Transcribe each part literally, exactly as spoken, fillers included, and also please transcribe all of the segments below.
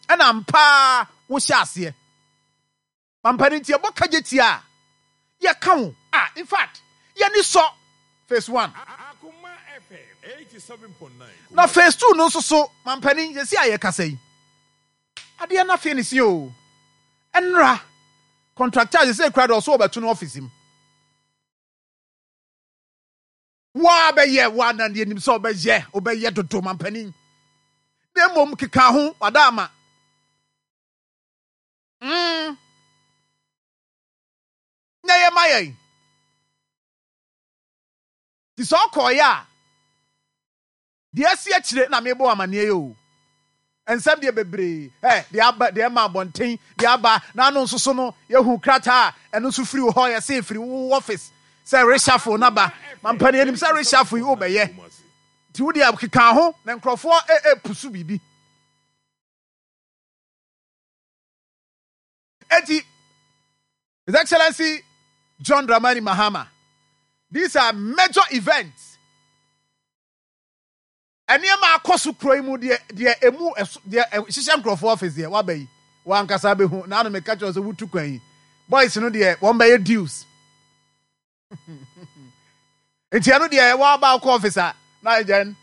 Ɛna mpaa wohyɛ aseɛ. Mampanin, nti yɛbɔ kagye tia a yɛka wo a, in fact, yɛni sɔ phase one. Na phase two no nso so, mampanin, yɛsi a yɛkasa yi, adeɛ no afei ne si o. Ɛnra contractor sɛ kura de ɔso ɔbɛto no office mu. Waa bɛyɛ waa na deɛ nim sɛ ɔbɛyɛ, ɔbɛyɛ dodo, mampanin. Na mmom keka ho wada ama mm. Na yɛ ma yɛn nti sɛ ɔkɔɔyɛ a, deɛ asi akyire na mebɔ amanneɛ yi o. Nsɛm deɛ bebree ɛ deɛ aba, deɛ ɛma abɔnten, deɛ aba n'ano nso so no, yɛhu krataa a ɛno nso firi wo hɔ, yɛse firi wo office sɛ reshuffle naba. Mampanin, anim sɛ reshuffle yi wobɛyɛ, nti wo deɛ keka ho na nkurɔfoɔ ɛpusu biribi. Eti His Excellency John Dramani Mahama, these are major events. Nneɛma akɔ so kuro yi mu deɛ deɛ emu ɛso deɛ hyehyɛ nkurɔfoɔ office deɛ waba yi, wankasa bɛhu na ano meka kyerɛ sɛ wotu kwan yi, boys no deɛ wɔn bɛyɛ deals. Nti ɛno deɛ wɔaba akɔ office a, na then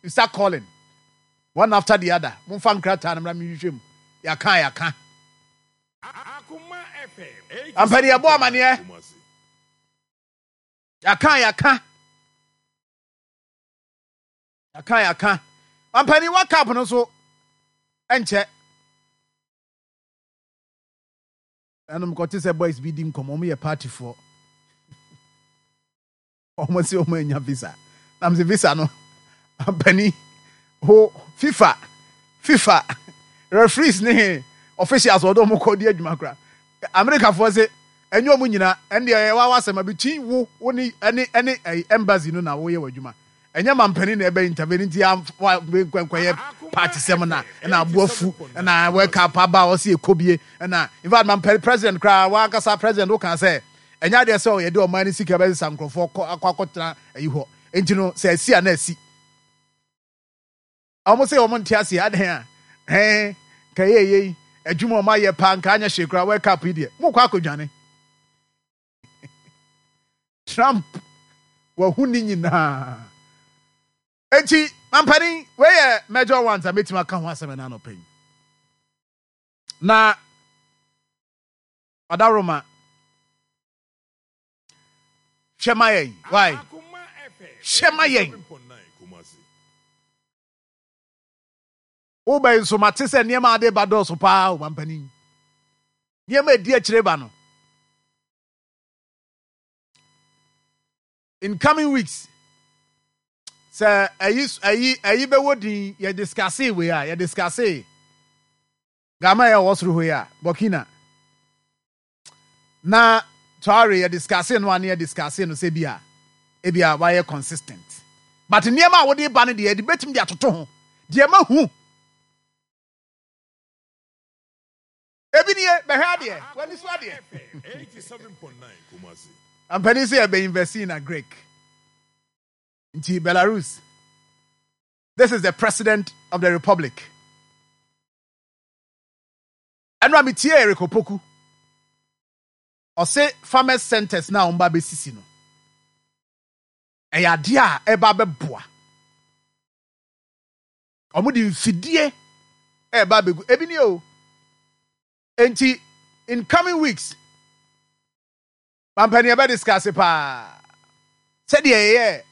you start calling one after the other, momfa nkrataa no mmra mehwehwɛ mu. Yɛaka yɛaka ampani, yɛbɔ amaneɛ, yɛaka yɛaka yɛaka yɛaka ampani. World Cup no nso ɛnkyɛ ɛnom kɔte sɛ boys bi di nkɔmmɔ, ɔmo yɛ partyfoɔ, ɔmo sɛ ɔmo anya visa. Nam sɛ visa no, ampani, ho FIFA FIFA referees ne officials wɔde ɔmo kɔ di adwuma kora. Amerikafoɔ sɛ ɛnyɛ ɔmo nyinaa. Ɛndeɛ ɛyɛ wa wasɛm between wo wo ne ɛne ɛne ɛyɛ embassy no na wɔyɛ wɔ adwuma. Ɛnyɛ mampanin na ɛbɛ intervene. Nti wa nkɔyɛ party sɛm na ɛna aboafu ɛna World Cup aba a ɔsi ekobie. Ɛna in fact, mampanin, president koraa, wankasa president woka sɛ ɛnyɛ adeɛ sɛ ɔyɛ de ɔman ne sika bɛsesa nkurɔfoɔ kɔ akɔ akɔtena ɛyi hɔ. Nti no sɛ ɛsi a na ɛsi, ɔmo sɛ ɔmo nte aseɛ adan a ɛn ka yɛ yɛ yi adwuma ɔmo ayɛ paa nka anyɛ hwee koraa. World Cup yi deɛ, mo kɔ akɔdwane. Trump wahu ne nyinaa. Eti mampanin, wei yɛ major ones a mɛtumi aka ho asɛm ɛna anɔpɛ yi. Na ɔdaroma hwɛ ma yɛn, why hwɛ ma yɛn. Wobɛyi nso mate sɛ nneɛma ade ba dɔɔso paa o. Mampanin, nneɛma edi akyire ba no in coming weeks sɛ ɛyi ɛyi ɛyi bɛwɔ din. Yɛ discuss wei a yɛ discuss Gama yɛ wɔ soro hɔ yi a, Burkina na Traore, yɛ discuss no a, ne yɛ discuss no sɛ bi a ebi a wayɛ consistent, but nneɛma a wɔde ba no deɛ, yɛde bɛtumi de atoto ho deɛ ma hu ebi nie. Bɛhwɛ adeɛ, w'ani so adeɛ. Ampanin sɛ yɛbɛ invest in agric. Nti Belarus, this is the President of the Republic. Ɛno a metie Eric Opoku, ɔse farmers centers na wɔn ba bɛsisi no, ɛyɛ adeɛ a ɛba bɛboa. Wɔn de mfidie ɛba abɛgu ebi ni o. Nti in coming weeks, mampanin, ɛbɛ discuss paa sɛdeɛ ɛyɛ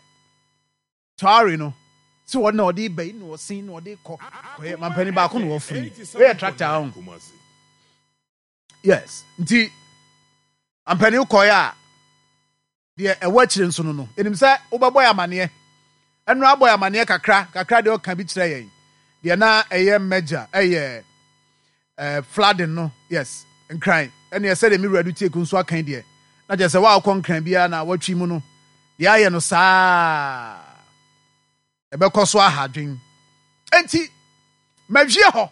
Traore no sɛ wɔn na ɔde ba yi na ɔsen na ɔde kɔ kɔyɛ. Mampanin, baako na wɔfiri wɔyɛ tractor ho. Yes, nti mampanin, kɔyɛ a deɛ ɛwɔ akyire nso no no enim sɛ wobɛbɔ yɛ amaneɛ. Ɛno abɔ yɛ amaneɛ kakra kakra deɛ, ɔka bi kyerɛ yɛn deɛ na ɛyɛ major, ɛyɛ ɛɛ flooding no. Yes, Nkran ɛne ɛsɛ deɛ mi wura do tie ko nso akan deɛ na kyerɛ sɛ wɔakɔ Nkran biara na wɔatwi mu no deɛ ayɛ no saa, ɛbɛkɔ so aha adwen. Nti mawie hɔ,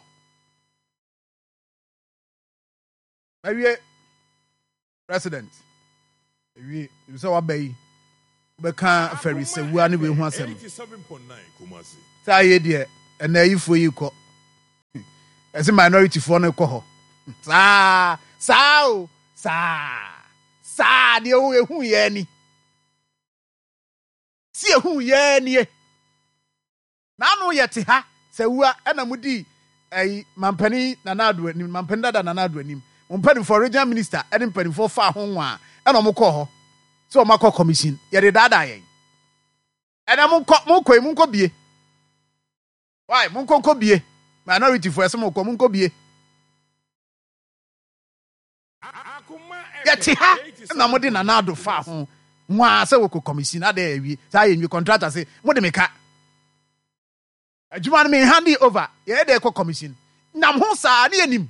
mawie. President, ewie sɛ waba yi, wobɛka fɛrisɛwua ne wei ho asɛm sɛ ayɛ deɛ ɛnna ayifoɔ yi kɔ. Ɛsɛ minority foɔ no kɔ hɔ saa saa o, saa saa deɛ o, ehu yɛ ni si ehu yɛ nie. N'ano yɛ te ha sɛ wua ɛna mo di ɛyi mampanin Nana Ado anim, mampanin dada Nana Ado anim, mo mpanimfoɔ, regional minister ɛne mpanimfoɔ fa ho nwa, ɛna ɔmo kɔɔ hɔ sɛ ɔmo akɔ commission. Yɛde daadaa yɛn. Ɛna mo nkɔ, mo nkɔ yi, mo nkɔ bie. Why mo nkɔ nkɔ bie? Minority foɔ, ɛsɛ mo kɔ, mo nkɔ bie. Yɛte ha na mo de Nana Ado fa ho nwaa sɛ wɔkɔ commission ade awie saa yɛ nwie. Contractor sɛ mo de me ka adwuma no, me hand it over, yɛyɛ de kɔ commission. Nam ho saa ne yɛnim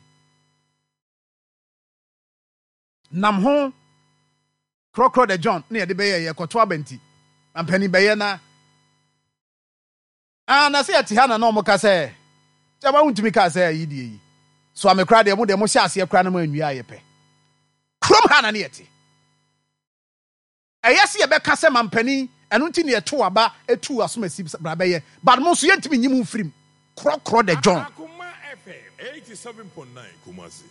nam ho korɔkorɔ de John ne yɛde bɛyɛ yɛ kɔto abɛnti mampanin bɛyɛ na ah na sɛ yɛte ha na na ɔmo ka sɛ kyɛba wontumi kaa sɛ ayi deɛ yi so ame koraa deɛ, mo deɛ mo hyɛ aseɛ koraa no, mo anwie ayɛ pɛ. Kurom ha na ne yɛte. Ɛyɛ sɛ yɛbɛka sɛ mampanin ɛno nti ne yɛto aba etu asomasi bra bɛyɛ, but mo nso yɛntumi nyi mu mfirim korɔkorɔ de John. Akoma F M eighty-seven point nine Kumasi.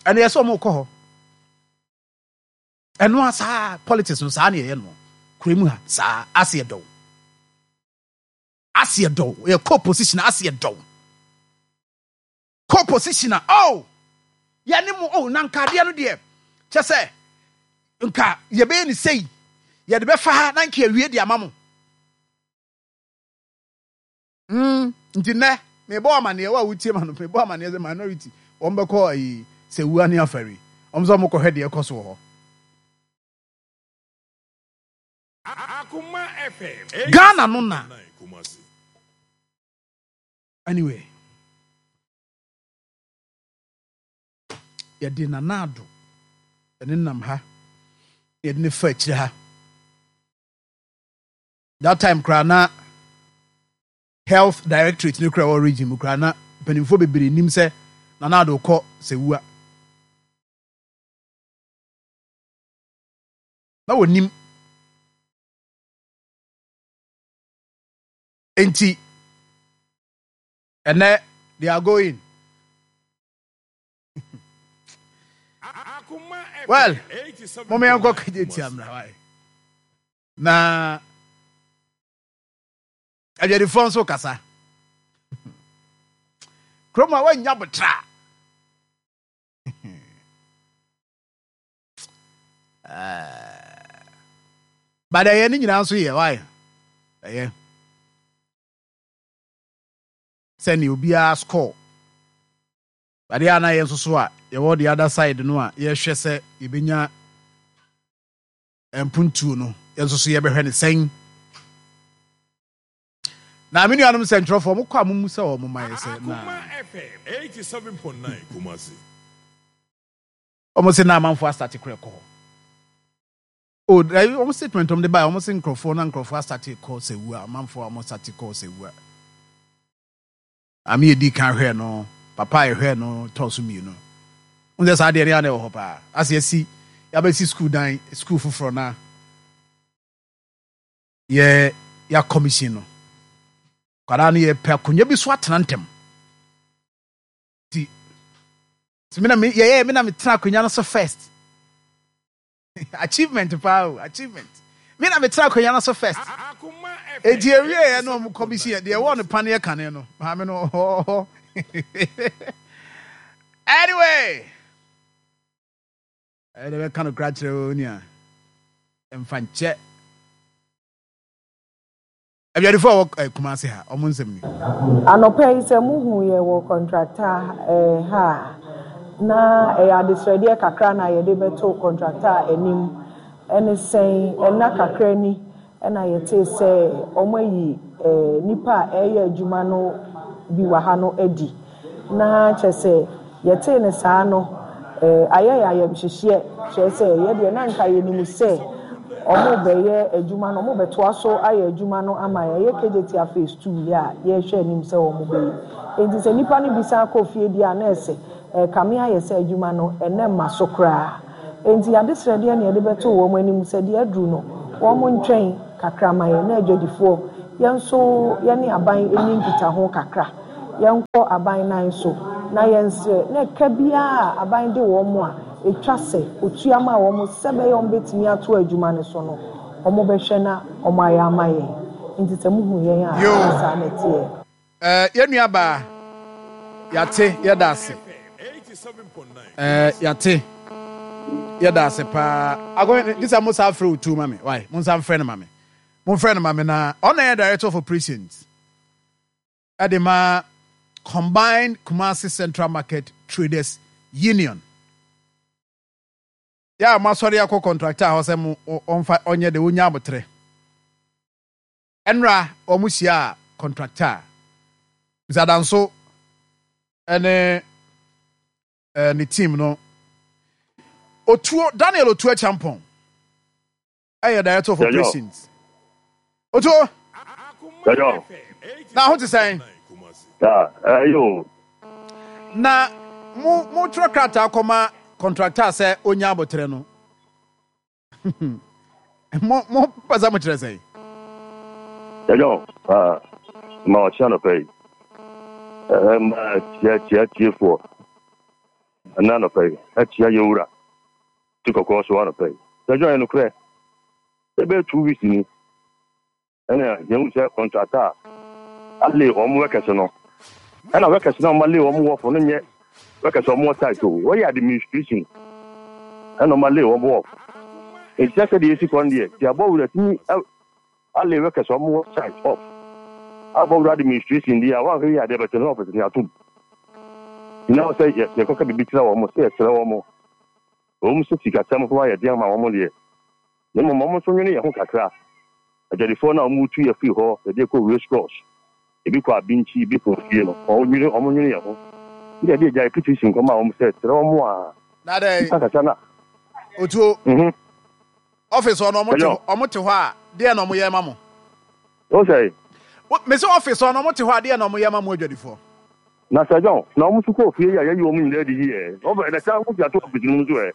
Ɛno yɛ sɛ ɔmo kɔ hɔ. Ɛno a saa politics no saa ne yɛyɛ no kuro mu ha saa. Ase yɛ dɔw, ase yɛ dɔw, yɛ kɔ position, ase yɛ dɔw, kɔ position a, oh, yɛne mo, oh, na nka adeɛ no deɛ kyɛ sɛ nka yɛbɛyɛ ne sei, yɛde bɛfa ha na nka yɛwie de ama mo. mm, nti nnɛ mebɔ amanneɛ wo a wotie ma no, mebɔ amanneɛ sɛ minority wɔn bɛkɔ ayi sɛ wua ne afari wɔn sɛ wɔn kɔhwɛ deɛ ɛkɔ so wɔ hɔ. Akoma F M Ghana no na eighty-seven point nine Kumasi. Anyway, yɛde Nana Ado ɛne nam ha, yɛde ne fa akyire ha. That time koraa na health directorate ne koraa wɔ region mu koraa na mpanimfoɔ bebree nim sɛ Nana Ado kɔ sɛ wua na wɔnim. Nti ɛnɛ they are going. Akoma F M Well, eighty-seven point nine mɔmɔ yɛn kɔ kagye tia Kumasi. mmra wae na adwadifoɔ nso kasa kurom a wɔanya botra. But ɛyɛ ne nyinaa nso yɛ wae, ɛyɛ sɛnea obiara score. But yɛ ana yɛn nso so a yɛwɔ the other side no a yɛhwɛ sɛ yɛbɛnya mpuntuo no, yɛn nso so yɛbɛhwɛ ne sɛn. Na me nuanom nsɛntwerɛfoɔ, mokɔ a momu sɛ wɔ moma yɛ sɛ na Akoma F M eighty-seven point nine Kumasi. Ɔmo sɛ na amanfoɔ astart korɛ kɔ hɔ o. Ɛyi ɔmo statement ɔmo de ba, ɔmo sɛ nkurɔfoɔ na nkurɔfoɔ astart kɔ sɛ wu a amanfoɔ a ɔmo start kɔ sɛ wu a ame yɛ di kan hwɛ no, papa yɛ hwɛ no tɔɔ so mmienu n sɛ saa deɛ ne yɛ na ɛwɔ hɔ paa. Ase yɛsi yɛabɛsi school dan, school foforɔ na yɛ yɛ commission no, kwadaa no yɛpɛ akonnwa bi so atena ntɛm. Ti sɛ mi na mi yɛyɛ mi na mi tena akonnwa no so first, achievement paa o, achievement, mi na mi tena akonnwa no so first. Akoma F M Eti ewie yɛ na ɔmo commission yɛ deɛ ɛwɔ ne paneɛ kane no maame no ɔhɔ. Anyway, ɛyɛ dɛ bɛka no kora kyerɛ o nua mfa nkyɛ abiadifo a wɔ ɛ Kumase ha, ɔmo nsɛm ni. Anɔpa yi sɛ muhu yɛ wɔ contractor eh, ha a, na ɛyɛ adesrɛdeɛ kakra na yɛde bɛto contractor anim. Ɛne sɛn, ɛna kakra ni ɛna yɛtee sɛ wɔn ayi eh, nipa a ɛreyɛ adwuma no bi wɔ ha no adi. Na kyerɛ sɛ yɛtee ne saa no, eh, ayɛ yɛ ayɛmhyehyeɛ, kyerɛ sɛ yɛdeɛ na nka yɛnim sɛ ɔmo bɛyɛ adwuma no, ɔmo bɛtoa so ayɛ adwuma no ama yɛn. Ɛyɛ Kejetia phase two yɛ a yɛrehwɛ anim sɛ ɔmo bɛyɛ. Nti sɛ nipa no bi san kɔ fie deɛ a, na ɛsɛ ɛkame ayɛ sɛ adwuma no ɛnɛ mma so koraa. Nti adesrɛdeɛ na yɛde bɛto wɔn anim sɛ deɛ aduru no, wɔn ntwɛn kakra ma yɛn na adwadifoɔ yɛn nso yɛne aban ani nkitaho kakra. Yɛnkɔ aban nan so na yɛnsrɛ na ɛka biara a aban de wɔn a ɛtwa sɛ otua ma wɔn sɛ bɛyɛ wɔn bɛtumi ato adwuma no so no, wɔn bɛhwɛ na wɔn ayɛ ama yɛn. Nti sɛ muhu yɛn a, Yo. ɛnyɛ saa na ɛteɛ. Ɛɛ, yɛn nua baa, yate, yɛda ase. Ɛɛ, yate, yɛda ase paa. Akɔ gye sɛ mo sa frɛ Otu ma me. Wai, mo nsa mfrɛ no ma me. Mo mfrɛ no ma me na ɔna yɛ director of operations ɛde ma Combined Kumasi Central Market Traders Union. Yɛ a mo asɔre akɔ contractor hɔ sɛ mo ɔmfa ɔnyɛ de onya abotrɛ. Ɛnra wɔn hyia a contractor Mister Danso ɛne ɛɛ ne team no. Otuo Daniel Otuo Champon ɛyɛ director of Yɛyɔ. operations. Otuo. Yɛyɔ. Na ho te sɛn? Ya, ɛyɛ o. Na mo mo twerɛ krataa kɔma contractor sɛ onya abotrɛ no, mo mo pɛ sɛ mo kyerɛ sɛn? Yɛyɔ. Ah, ma ɔkyea nɔpɛ yi. Ɛɛ, ma tia tia tiefoɔ. Ɛna nɔpɛ yi, ɛtia yɛwura. Ti kɔkɔɔ so anɔpɛ yi. Yɛyɔ, yɛ nokorɛ. Ɛbɛyɛ two weeks ni. Ɛna yɛn sɛ contractor alay wɔn workers no. Ɛna workers na wɔn alay wɔn off no nyɛ workers a wɔn wɔ site o. Wɔyɛ administration. Ɛna wɔn alay wɔn off. Nti sɛ deɛ esi kɔ no deɛ, ti abɔ wura tumi alay workers a wɔn wɔ site off. Abɔ wura administration deɛ a wɔahwɛ yi adeɛ bɛtɛ no office ni atum. Nyina sɛ yɛ yɛkɔka biribi kyerɛ wɔn sɛ yɛkyerɛ wɔn. Wɔn sɛ sikasɛm ho ayɛ den ama wɔn deɛ. Na mmom wɔn nso nwene yɛn ho kakra. Adwadifoɔ no a wɔn tu yɛ firi hɔ, yɛde kɔ race course, ebi kɔ Abinkyi, ebi kɔ fie no, wɔn nwene wɔn nwene yɛn ho. Bi de agya petition kɔma wɔn sɛ kyerɛ wɔn a Na dɛ nipa kasa na. Otuo, Mhm. office hɔ no, ɔmo te Hello. hɔ, ɔmo te hɔ a, deɛ na ɔmo yɛ ma mo? O sɛ Wo- mese office hɔ no, ɔmo te hɔ a, deɛ na ɔmo yɛ ma mo adwadifoɔ? Na sɛ John na wɔn nso kɔ fie yi a, yɛyi wɔn nyinaa di yi yɛ ɔbɛ na sɛ wɔn fi ato office no mu nso ɛ.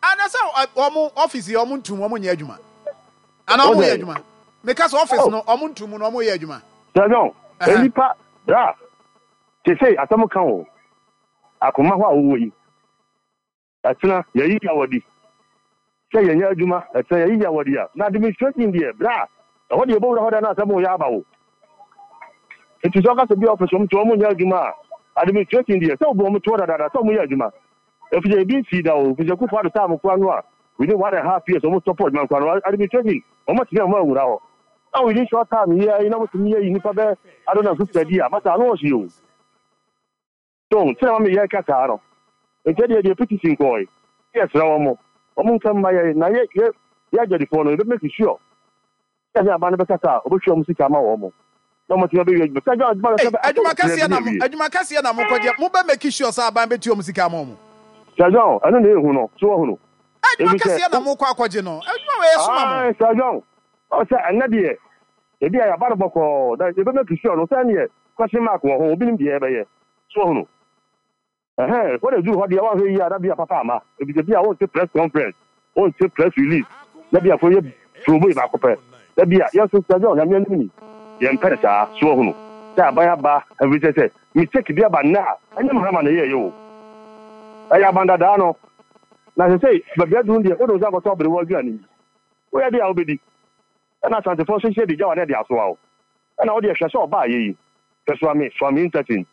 Ana sɛ ɔ- ɔmo office yi, ɔmo ntum, ɔmo nyɛ adwuma ana ɔmo yɛ Ɔsɛ adwuma? Meka sɛ office Oh. no, ɔmo ntum no, ɔmo yɛ adwuma. Sɛ John, Ɛhɛn. enipa bra sese asɛm ka o akoma hɔ a wɔwɔ yi, ɛtena yɛyi awɔdi sɛ yɛnyɛ adwuma, ɛtena yɛyi awɔdi a, na administration deɛ, bra, ɛhɔ deɛ yɛbɛwura hɔ da na asɛm yɛ aba wo. Nti sɛ ɔka sɛ bi office wɔn to wɔn nyɛ adwuma a, administration deɛ, sɛ obi wɔn to hɔ dadaada sɛ wɔn yɛ adwuma, efisɛ ebi nsi da o, efisɛ Kufu Ado time kora no a, within one and a half years wɔn stop adwuma kora no, administration wɔn atumi a wɔn awura hɔ na within short time yi ayi na wɔtumi yɛ yi nipa bɛ ado na fifty di a masa ano ɔsi o. So sɛ wɔn yɛ kasa no nti deɛ deɛ petition kɔɔ yi, yɛ srɛ wɔn mo wɔn nka mma yɛ na yɛ yɛ yɛ adwadifoɔ no, yɛbɛ make sure sɛ ne aba no bɛkasa a, ɔbɛhwɛ wɔn sika ama wɔn mo na wɔn atumi abɛwie adwuma sɛ adwuma no Ei, sɛ bɛ adwuma kɛseɛ na mo awie. Adwuma kɛseɛ na mokɔgye, mobɛ make sure sɛ aban bɛtua ɔmo sika ama ɔmo? Sɛ John, ɛno na ehu no so wɔhunu. Adwuma Ebi sɛ kɛseɛ na mokɔ akɔgye no, adwuma wɔ yɛ soma mo. Ayi, sɛ John, ɔsɛ ɛnɛ deɛ ebi a yaba no bɔkɔɔ na yɛbɛ make sure no sɛ neɛ question mark wɔ ho, obi nim deɛ yɛbɛyɛ so wɔhunu. Ɛhɛn, wɔde duru hɔ deɛ, wɔahwɛ yi a, na bi a papa ama ebi sɛ bi a wɔnte press conference, wɔnte press release, na bi a fo yɛ promo yi baako pɛ, na bi a yɛn nso, sɛ John, Nyame anim ni, yɛn mpɛ ne saa so wɔhunu sɛ aban aba ɛfi sɛ sɛ mistake bi aba nnɛ a, ɛnyɛ Mahama na ɛyɛ yɛ o, ɛyɛ aban dadaa no. Na sɛ sɛ baabi aduru deɛ, wode wo nsa akɔtɔ abere wɔ aduane yi, woyɛ deɛ a wobɛdi, ɛna Asantefoɔ nso hyɛ de gya wa ne de asoa wo, ɛna wode ɛhwɛ sɛ ɔbaa yɛ yi hwɛ Soame Soame interchange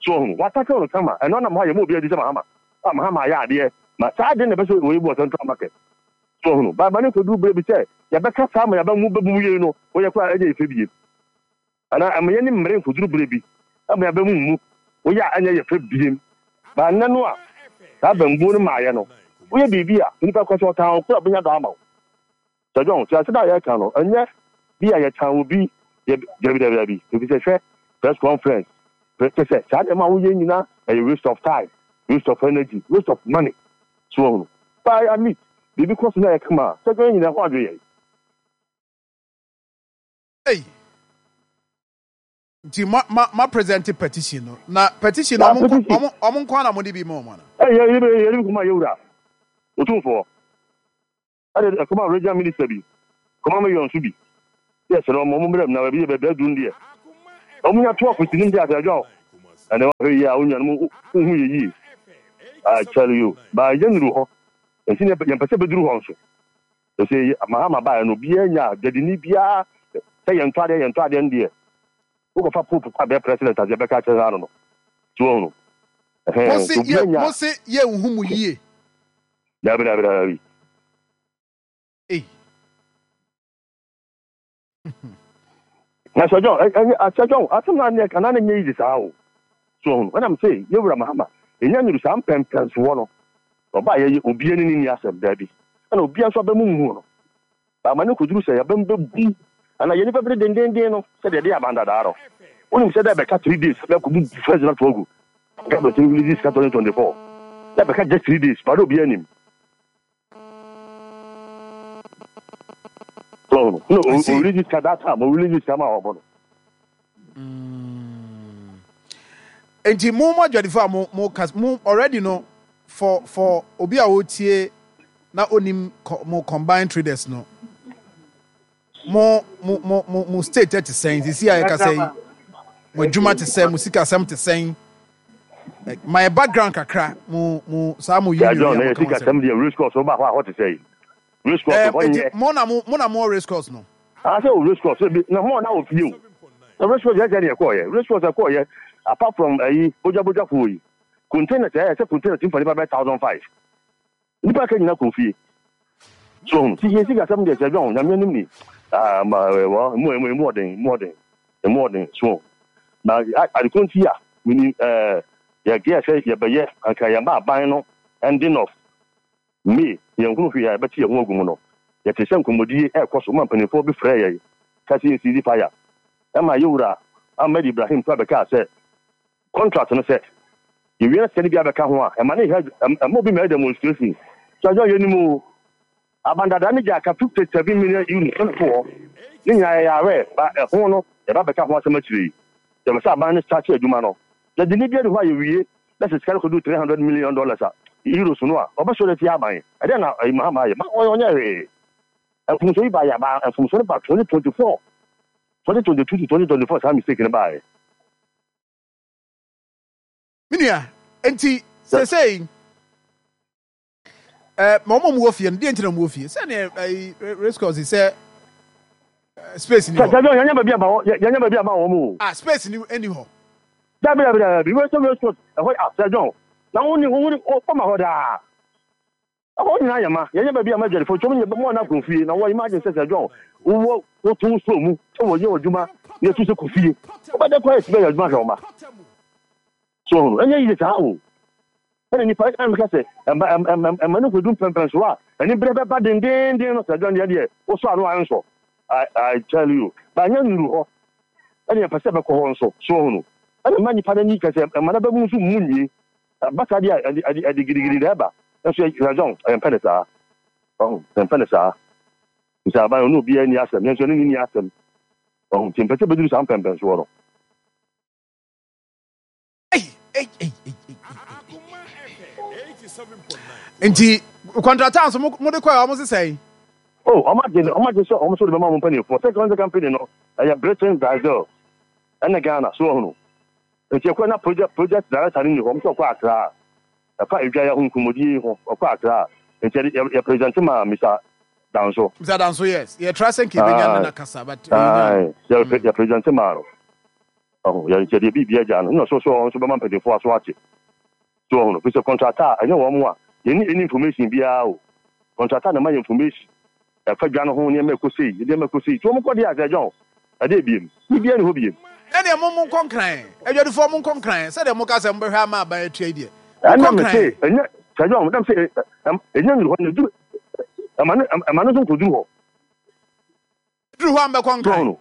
so ɔhunu watake no kama. Ɛno anam hɔ a yɛma obi adi sɛ Mahama a Mahama ayɛ adeɛ ma saa ade na ɛbɛ sɛ wɔyɛ bu wɔ Central Market so ɔhunu baaba ne kɔduru berɛ bi sɛ yɛbɛka saa ma yɛbɛ mu bɛbu yei no, wɔyɛ kɔ a ɛnyɛ yɛ fɛ bie anaa ɛma yɛne mmere nkɔduru berɛ bi ɛma yɛbɛ mu mu woyɛ a ɛnyɛ yɛ fɛ biem. Ba nnɛ no a saa bambuo no maayɛ no, woyɛ biribi a nipa kɔ sɛ ɔtan wo koro a, bɛnya dɔ ama wo. Sɛ John, sɛ ase da a yɛka no, ɛnyɛ bi a yɛtan wo bi yɛ, dabi dabi dabi, ebi sɛ hwɛ press conference kyɛ sɛ saa nneɛma a woyɛ nyinaa ɛyɛ waste of time, waste of energy, waste of money so wɔhunu. But at least biribi kɔ so na yɛ kama a, sɛ John, nyinaa ho adwe yɛn. Ei, nti ma ma ma present petition no, na petition no Na ɔmo nko petition. ɔmo ɔmo nko ana mo de bi ma ɔmo ana? Ɛyɛ yɛ yɛ yɛ kɔma yɛwura Otumfoɔ, ɛde ɛkɔma regional minister bi, kɔma mi yɔn so bi, yɛ sɛ ɔmo ɔmo mmerɛ mu na baabi yɛ baabi aduru deɛ, ɔmo nya to ɔfisi nim deɛ asɛ John. Ɛnɛ wahwɛ yie a, wo nuanom wohu yɛ yie. I tell you, ba yɛnnuru hɔ. Nti ne yɛmpɛ sɛ bɛduru hɔ nso. Ɛsɛ Mahama baeɛ no, obiara nya dwadini biara sɛ yɛntɔ adeɛ, yɛntɔ adeɛ no deɛ. Wokɔfa Pope kɔ abɛyɛ president adeɛ bɛka akyerɛ no ano no. So wɔn no. Mo se yɛ mo se yɛnhu mo yie. Dabi, dabi, dabi. Ei. Na Sir John, ɛ Sir John, asɛm na ne kana ne nyɛ easy saa o. So wɔn no. Ɛnam sɛ yɛwura Mahama, ɛnya nuru saa mpɛmpɛnsoɔ no. Ɔbaa yɛyɛ obiara ne ne ni asɛm, dabi. Ɛna obiara nso abɛmu mu no. Ama ne kɔduru sɛ yɛbɛm bɛbu ana yɛ nipa bere dendenden no sɛdeɛ ɛde aban dadaa no. Wonim sɛ dɛ bɛka three days bɛkɔbu first na to agu. Nka bɛtumi release sika twenty twenty four. Dɛ bɛka just three days, ba na obiara nim. So no, no, I see. o release sika that time, o release sika ma ɔbɔ no. Nti mo mo adwadifo a mo mo kas mo already no for for obi a otie na onim mo combined traders no, mo mo mo mo mo state te sɛn sisi a yɛka sɛ mo adwuma te sɛn, mo sikasɛm te sɛn, my background kakra, mo mo saa mo union yi a mo ka ho asɛm. Deɛ race course wo ba hɔ a hɔ te sɛ race course hɔ nyɛ. Mo na mo mo na mo race course no. Ah, sɛ o race course bi na mo na wɔ fie o. Na race course yɛ sɛ deɛ ɛkɔɔyɛ race course ɛkɔɔyɛ apart from ɛyi bogya kuo yi, container sɛ ɛsɛ container ti nfa nipa bɛ thousand five nipa ka nyina kɔ fie. So ti yɛ sika sɛm deɛ, sɛ dɔn Nyame anim ni, ah, ma wɔ emu emu emu ɔden, emu ɔden, emu ɔden. So na adekoro nti a mini ɛɛ yɛ gɛ sɛ yɛbɛyɛ anka yɛn ba aban no ending of May, yɛn hunu hwee a yɛbɛte yɛn ho agu mu no, yɛte sɛ nkɔmmɔdie ɛrekɔ so ma mpanimfoɔ bi frɛ yɛn ka sɛ yɛnsi fire, ɛma yɛwura Ahmed Ibrahim kora bɛkaa sɛ contract no sɛ yɛwie na sika no bi abɛka ho a, ɛma ne yɛ ɛma obi mɛyɛ demonstration. So adwa yɛnim o, abandada ne gya aka fifty seven million euros ɛna to hɔ ne nyinaa yɛyɛ awɛ ba ɛho no, yɛba bɛka ho asɛm akyire yi. Yɛbɛ sɛ aban no start adwuma no, yɛde ne bi adi hɔ a yɛwie na sɛ sika no kɔdu three hundred million dollars a euros no a, ɔbɛsɔre atia aban. Ɛdɛn na ɛyi Mahama ayɛ ma ɔnyɛ hwee? Mfomso yi ba yɛ aba, mfomso no ba twenty twenty four, twenty twenty two to twenty twenty four, saa mistake no baayɛ. Me nua, nti sesei ɛ ma ɔmo mu wɔ fie no deɛ, nti na ɔmo wɔ fie sɛdeɛ ɛyi race course sɛ space ni hɔ. Sɛ yɛnyɛ baabi ama wɔn, yɛnyɛ baabi ama wɔn o. Ah, space ni ɛni hɔ. Dabi, dabi, dabi, wei sɛ race course ɛhɔ asɛ John na wɔn ni wɔn ni ɔma hɔ daa, ɛhɔ nyinaa yɛ ma yɛnyɛ baabi ama adwadifo twɛm nyɛ mo ana kɔ fie na wɔ imagine sɛ sɛ John wowɔ woto so mu sɛ wɔyɛ adwuma na yɛtu sɛ kɔ fie, wobɛdɛ kɔ ayɛ sɛ bɛyɛ adwuma hwɛ wo ma so ɔhunu ɛnyɛ yie saa o. Ɛna nipa ɛna meka sɛ ɛma ɛma ɛma no kɔdu mpɛmpɛn so a ɛne berɛ bɛba dendenden no, sɛ John deɛ deɛ wosɔ ano a ɛnsɔ. I I tell you, ba nyɛ nuru hɔ ɛna yɛpɛ sɛ bɛkɔ hɔ nso so ɔhunu ɛna ma nipa n'ani kɛsɛ ɛma no bɛmu nso mu nwie ɛba saa deɛ a ɛde ɛde ɛde gidigidi na ɛba nso yɛ John ɛyɛmpɛ ne saa ɔho, yɛmpɛ ne saa nti aban ɔne obiara ni asɛm, yɛn nso ɛne ne ni asɛm ɔho, nti mpɛ sɛ bɛduru saa mpɛmpɛn soɔ no. Ei, ei, ei, ei, ei, ei. Nti contractor nso mo mo de kɔ a ɔmo sesɛn? Oh, ɔmo agye ɔmo agye sɛ ɔmo nso de bɛma ɔmo mpanimfoɔ sɛ kɔnse company no ɛyɛ Britain, Brazil ɛne Ghana so ɔhono, nti ɛkɔ na project project director no ni hɔ, ɔmo sɛ ɔkɔ Accra ɛfa edwa yɛ ho nkɔmmɔdie yi ho, ɔkɔ Accra, nti yɛde yɛ yɛ present ma Mister Danso. Mister Danso, yes, yɛtra sɛ nka ebenya ne na kasa, but ɛyɛ Ayi, yɛ yɛ present ma no ɔho, yɛ yɛde biribi agya no ɛna so so ɔno nso bɛma mpanimfoɔ aso ate so ɔhono fi sɛ contractor ɛnyɛ wɔn a yɛni any information biara o, contractor na ma yɛ information ɛfa dwa no ho, nneɛma ɛkɔ sei, nneɛma ɛkɔ sei, nti wɔn kɔ deɛ asɛ John ɛdeɛ biem biribiara ni hɔ biem. Ɛdeɛ mo mo nkɔ Nkran, adwadifoɔ mo nkɔ Nkran, sɛdeɛ mo ka sɛ mo bɛhwɛ ama aban atua yi deɛ, mo ɛna nkɔ me se Nkran. Ɛnyɛ sɛ John ɛnam sɛ ɛnyɛ nuru hɔ na ɛduru ɛma no ɛma no nso nkɔduru hɔ. Duru hɔ a mbɛkɔ so Nkran. Ɔno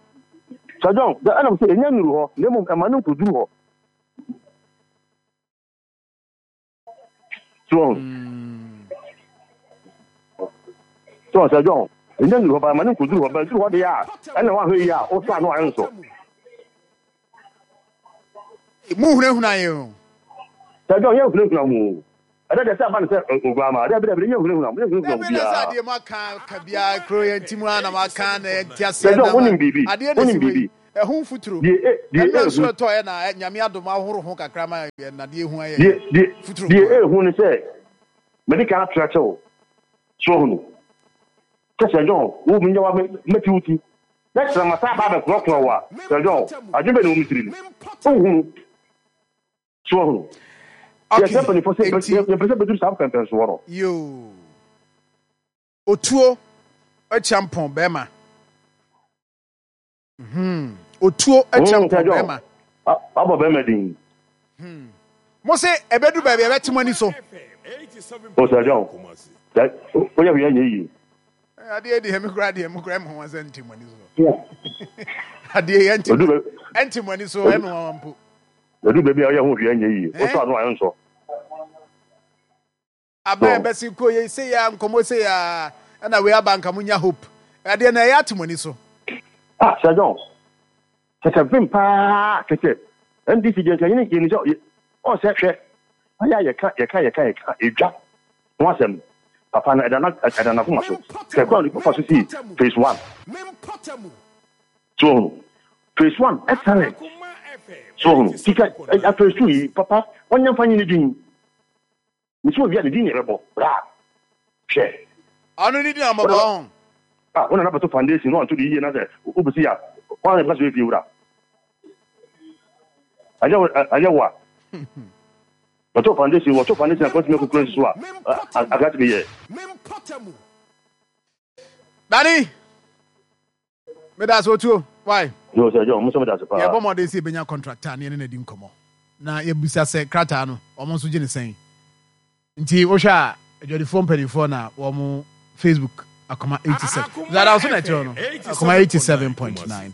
sɛ John ɛnam sɛ ɛnyɛ nuru hɔ na mmom ɛma no nkɔduru hɔ so ɔno so sɛ John ɛnyɛ nuru hɔ ba ɛma no nkɔduru hɔ, bɛduru hɔ deɛ a ɛna wahwɛ yi a wosɔ ano a ɛnsɔ. Mo hunahuna yɛn o. Sɛ John yɛ hunahuna mu ɛdɛ deɛ sɛ aba no sɛ oguama dɛ bi dɛ bi yɛ hunahuna mu yɛ hunahuna mu Dabi, na sɛ biara. Adeɛ mo aka ka biara kuro yɛn ti mu a na mo aka na yɛn ti Sɛ aseɛ John na ma wonim biribi adeɛ na wonim si hɔ yi biribi Ɛho mfuturo. Deɛ e deɛ Ɛnna nsuo ehu ɛtɔ yɛ na ɛ- Nyame adom ahoro ho kakra ma yɛ nadeɛ hu ayɛ deɛ deɛ futuro deɛ nko a. Ehu ne sɛ mede kan atrɛ kyɛw so ohunu sɛ Sir John wo mi nyɛ wa mɛti wo ti na kyerɛ ma saa ba abɛkorɔkorɔ wo a, Sir John, adwene bɛ ne wɔ me tiri no wohunu so ohunu yɛ sɛ Okay, mpanimfoɔ sɛ enti yɛpɛ sɛ bɛduru saa mpɛmpɛnsoɔ no. Yoo. Otuo akyampɔn bɛrima. Hmm. Otuo Mm, Sir akyampɔn John, bɛrima. wabɔ bɛrima din. Mo se ɛbɛdu baabi a ɛbɛte mo ani so. O Sir John, sɛ woyɛ hwee anyɛ yie. Eh, adeɛ deɛ me koraa deɛ mo koraa me ho asɛ nte mo ani so. Adeɛ yɛ nte Ɛdu mo baabi ɛnte mo ani so, ɛme nwanwa mpo. Ɛdu baabi a woyɛ ho hwee anyɛ yie, Eh? wosɔ ano a ɛnsɔ. Abɛn So bɛsi kɔ yɛ se ya nkɔmɔ se ya ɛna wei aba nka mo nya hope. Adeɛ na ɛyɛ ate mo ani so. Ah, Sir John, kɛkɛ vim paa kɛkɛ N D C deɛ nka yɛne yɛni sɛ ɔsɛ hwɛ ayɛ a yɛka yɛka yɛka yɛka edwa ho asɛm papa no ɛda na ɛda n'akoma so hwɛ kwan a nipa fa so sii phase one so ohunu phase one excellent so ohunu sika ɛ phase two yi papa wɔnyɛ nfa nyi ne din nsi obi a ne din na ɛbɛbɔ bra hwɛ. Ɔno ne din amɔbɔ wɔn ɔn. Ah, wɔn na bɛto foundation na wɔnto de yie na sɛ wobɛsi a wɔn na ɛbɛka so efie wura ɛnyɛ wo, ɛnyɛ wo a wɔto foundation wɔto foundation a kɔntumi akokoro nsi so a akra tumi yɛ. Dani, meda ase otuo. Why? Yóò sɛ ɛjɔ mo sɛ mo da ase paa. Yɛbɔ mmɔden sɛ yɛbɛnya contractor ne yɛne no adi nkɔmmɔ na yɛbisa sɛ krataa no ɔmo nso gye ne sɛn. Nti wohwɛ a adwadifoɔ mpanimfoɔ na wɔn Facebook Akoma eighty-seven zada so na ɛkyerɛ no Akoma eighty-seven point nine.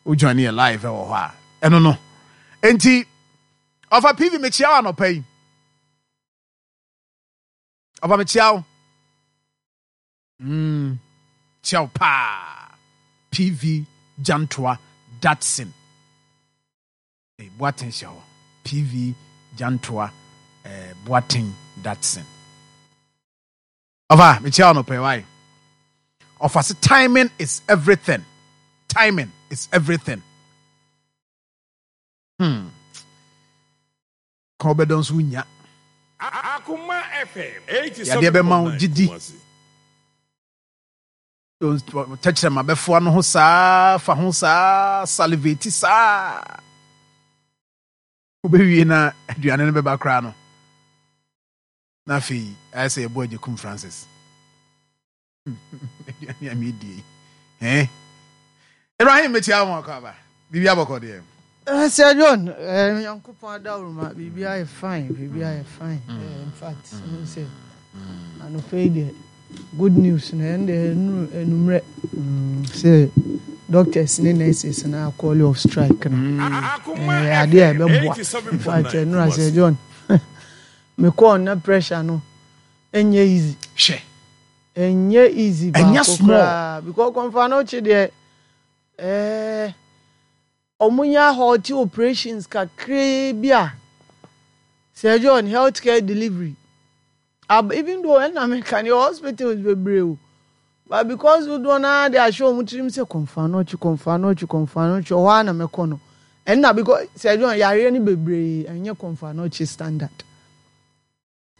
Wo join yɛ live ɛwɔ hɔ a ɛno no. Nti ɔfa P V, mekyia wo anɔpa yi. Ɔfa, mekyia wo. Mm, kyia wo paa. P V Jantoa Datson. Eh, Boateng hyɛ hɔ. P V Jantoa eh, Boateng Datson. Ɔfa, mekyia wo anɔpa yi wae. Ɔfa se timing is everything. Timing is everything. Hmm. Kan wobɛdɔ nso wonya. Akoma F M Yadeɛ bɛma wo eighty-seven point nine gyidi. Kumasi. Tɛkyerɛma bɛfoa no ho saa fa ho saa salivate saa wobɛwie na aduane no bɛba koraa no na afei ayɛ sɛ yɛbɔ Agyekum Francis aduane a medie yi. Eh? Ibrahim, mekyia wo akɔ aba biribi abɔkɔ deɛ. Eh, Sir John, eh, Nyankopɔn adawuruma, biribi ayɛ fine, biribi ayɛ fine. Eh, in fact, mm. sɛ anɔpa yi deɛ good news na ɛn deɛ ɛnuru enumrɛ mm, sɛ doctors ne nurses na call off strike no. Akoma Eh, adeɛ a F M ɛbɛboa. In fact, eighty-seven point nine ɛnura Sir Kumasi. John, mekɔɔ na pressure no ɛnyɛ easy. Hwɛ. Ɛnyɛ easy Ɛnyɛ baako small. koraa because Kɔmfo Anokye deɛ ɛɛ ɔmo nya halt operations kakraa bi a, Sir John, healthcare delivery ab even though ɛna meka ne hospitals bebree o, but because dodoɔ naa de ahyɛ ɔmo tirim sɛ Kɔmfo Anokye, Kɔmfo Anokye, Kɔmfo Anokye ɔhɔ a na mɛkɔ no ɛnna because Sir John, yareɛ no bebree ɛnyɛ Kɔmfo Anokye standard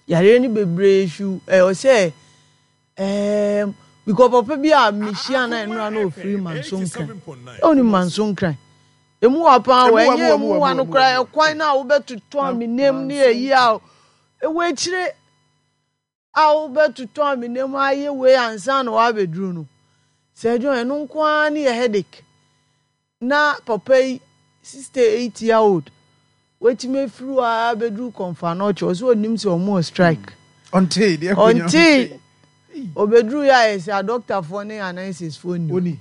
yareɛ no bebree su ɛwɔ sɛ ɛɛm because papa bi a mehyia na nnura na ofiri Manso Nkran, ɛwɔ ni Manso Nkran emu wa paa wɔ ɛnyɛ emu wa no koraa ɛkwan na wobɛtotɔ amenam ne ɛyi a ɛwɔ akyire a wobɛtotɔ amenam ayɛ wei ansa na wabɛduru no. Sɛ ɛdwon ɛno nko ara ne yɛ headache na papa yi sixty eight year old watumi afiri hɔ a bɛduru Kɔmfo Anokye, ɔsɛ onim sɛ ɔmo wɔ strike. Ɔntee deɛ ɛkɔ nyina. Ɔntee obɛduru yɛ ayɛ sɛ adɔktafoɔ ne anɛsesfoɔ ni. Oni.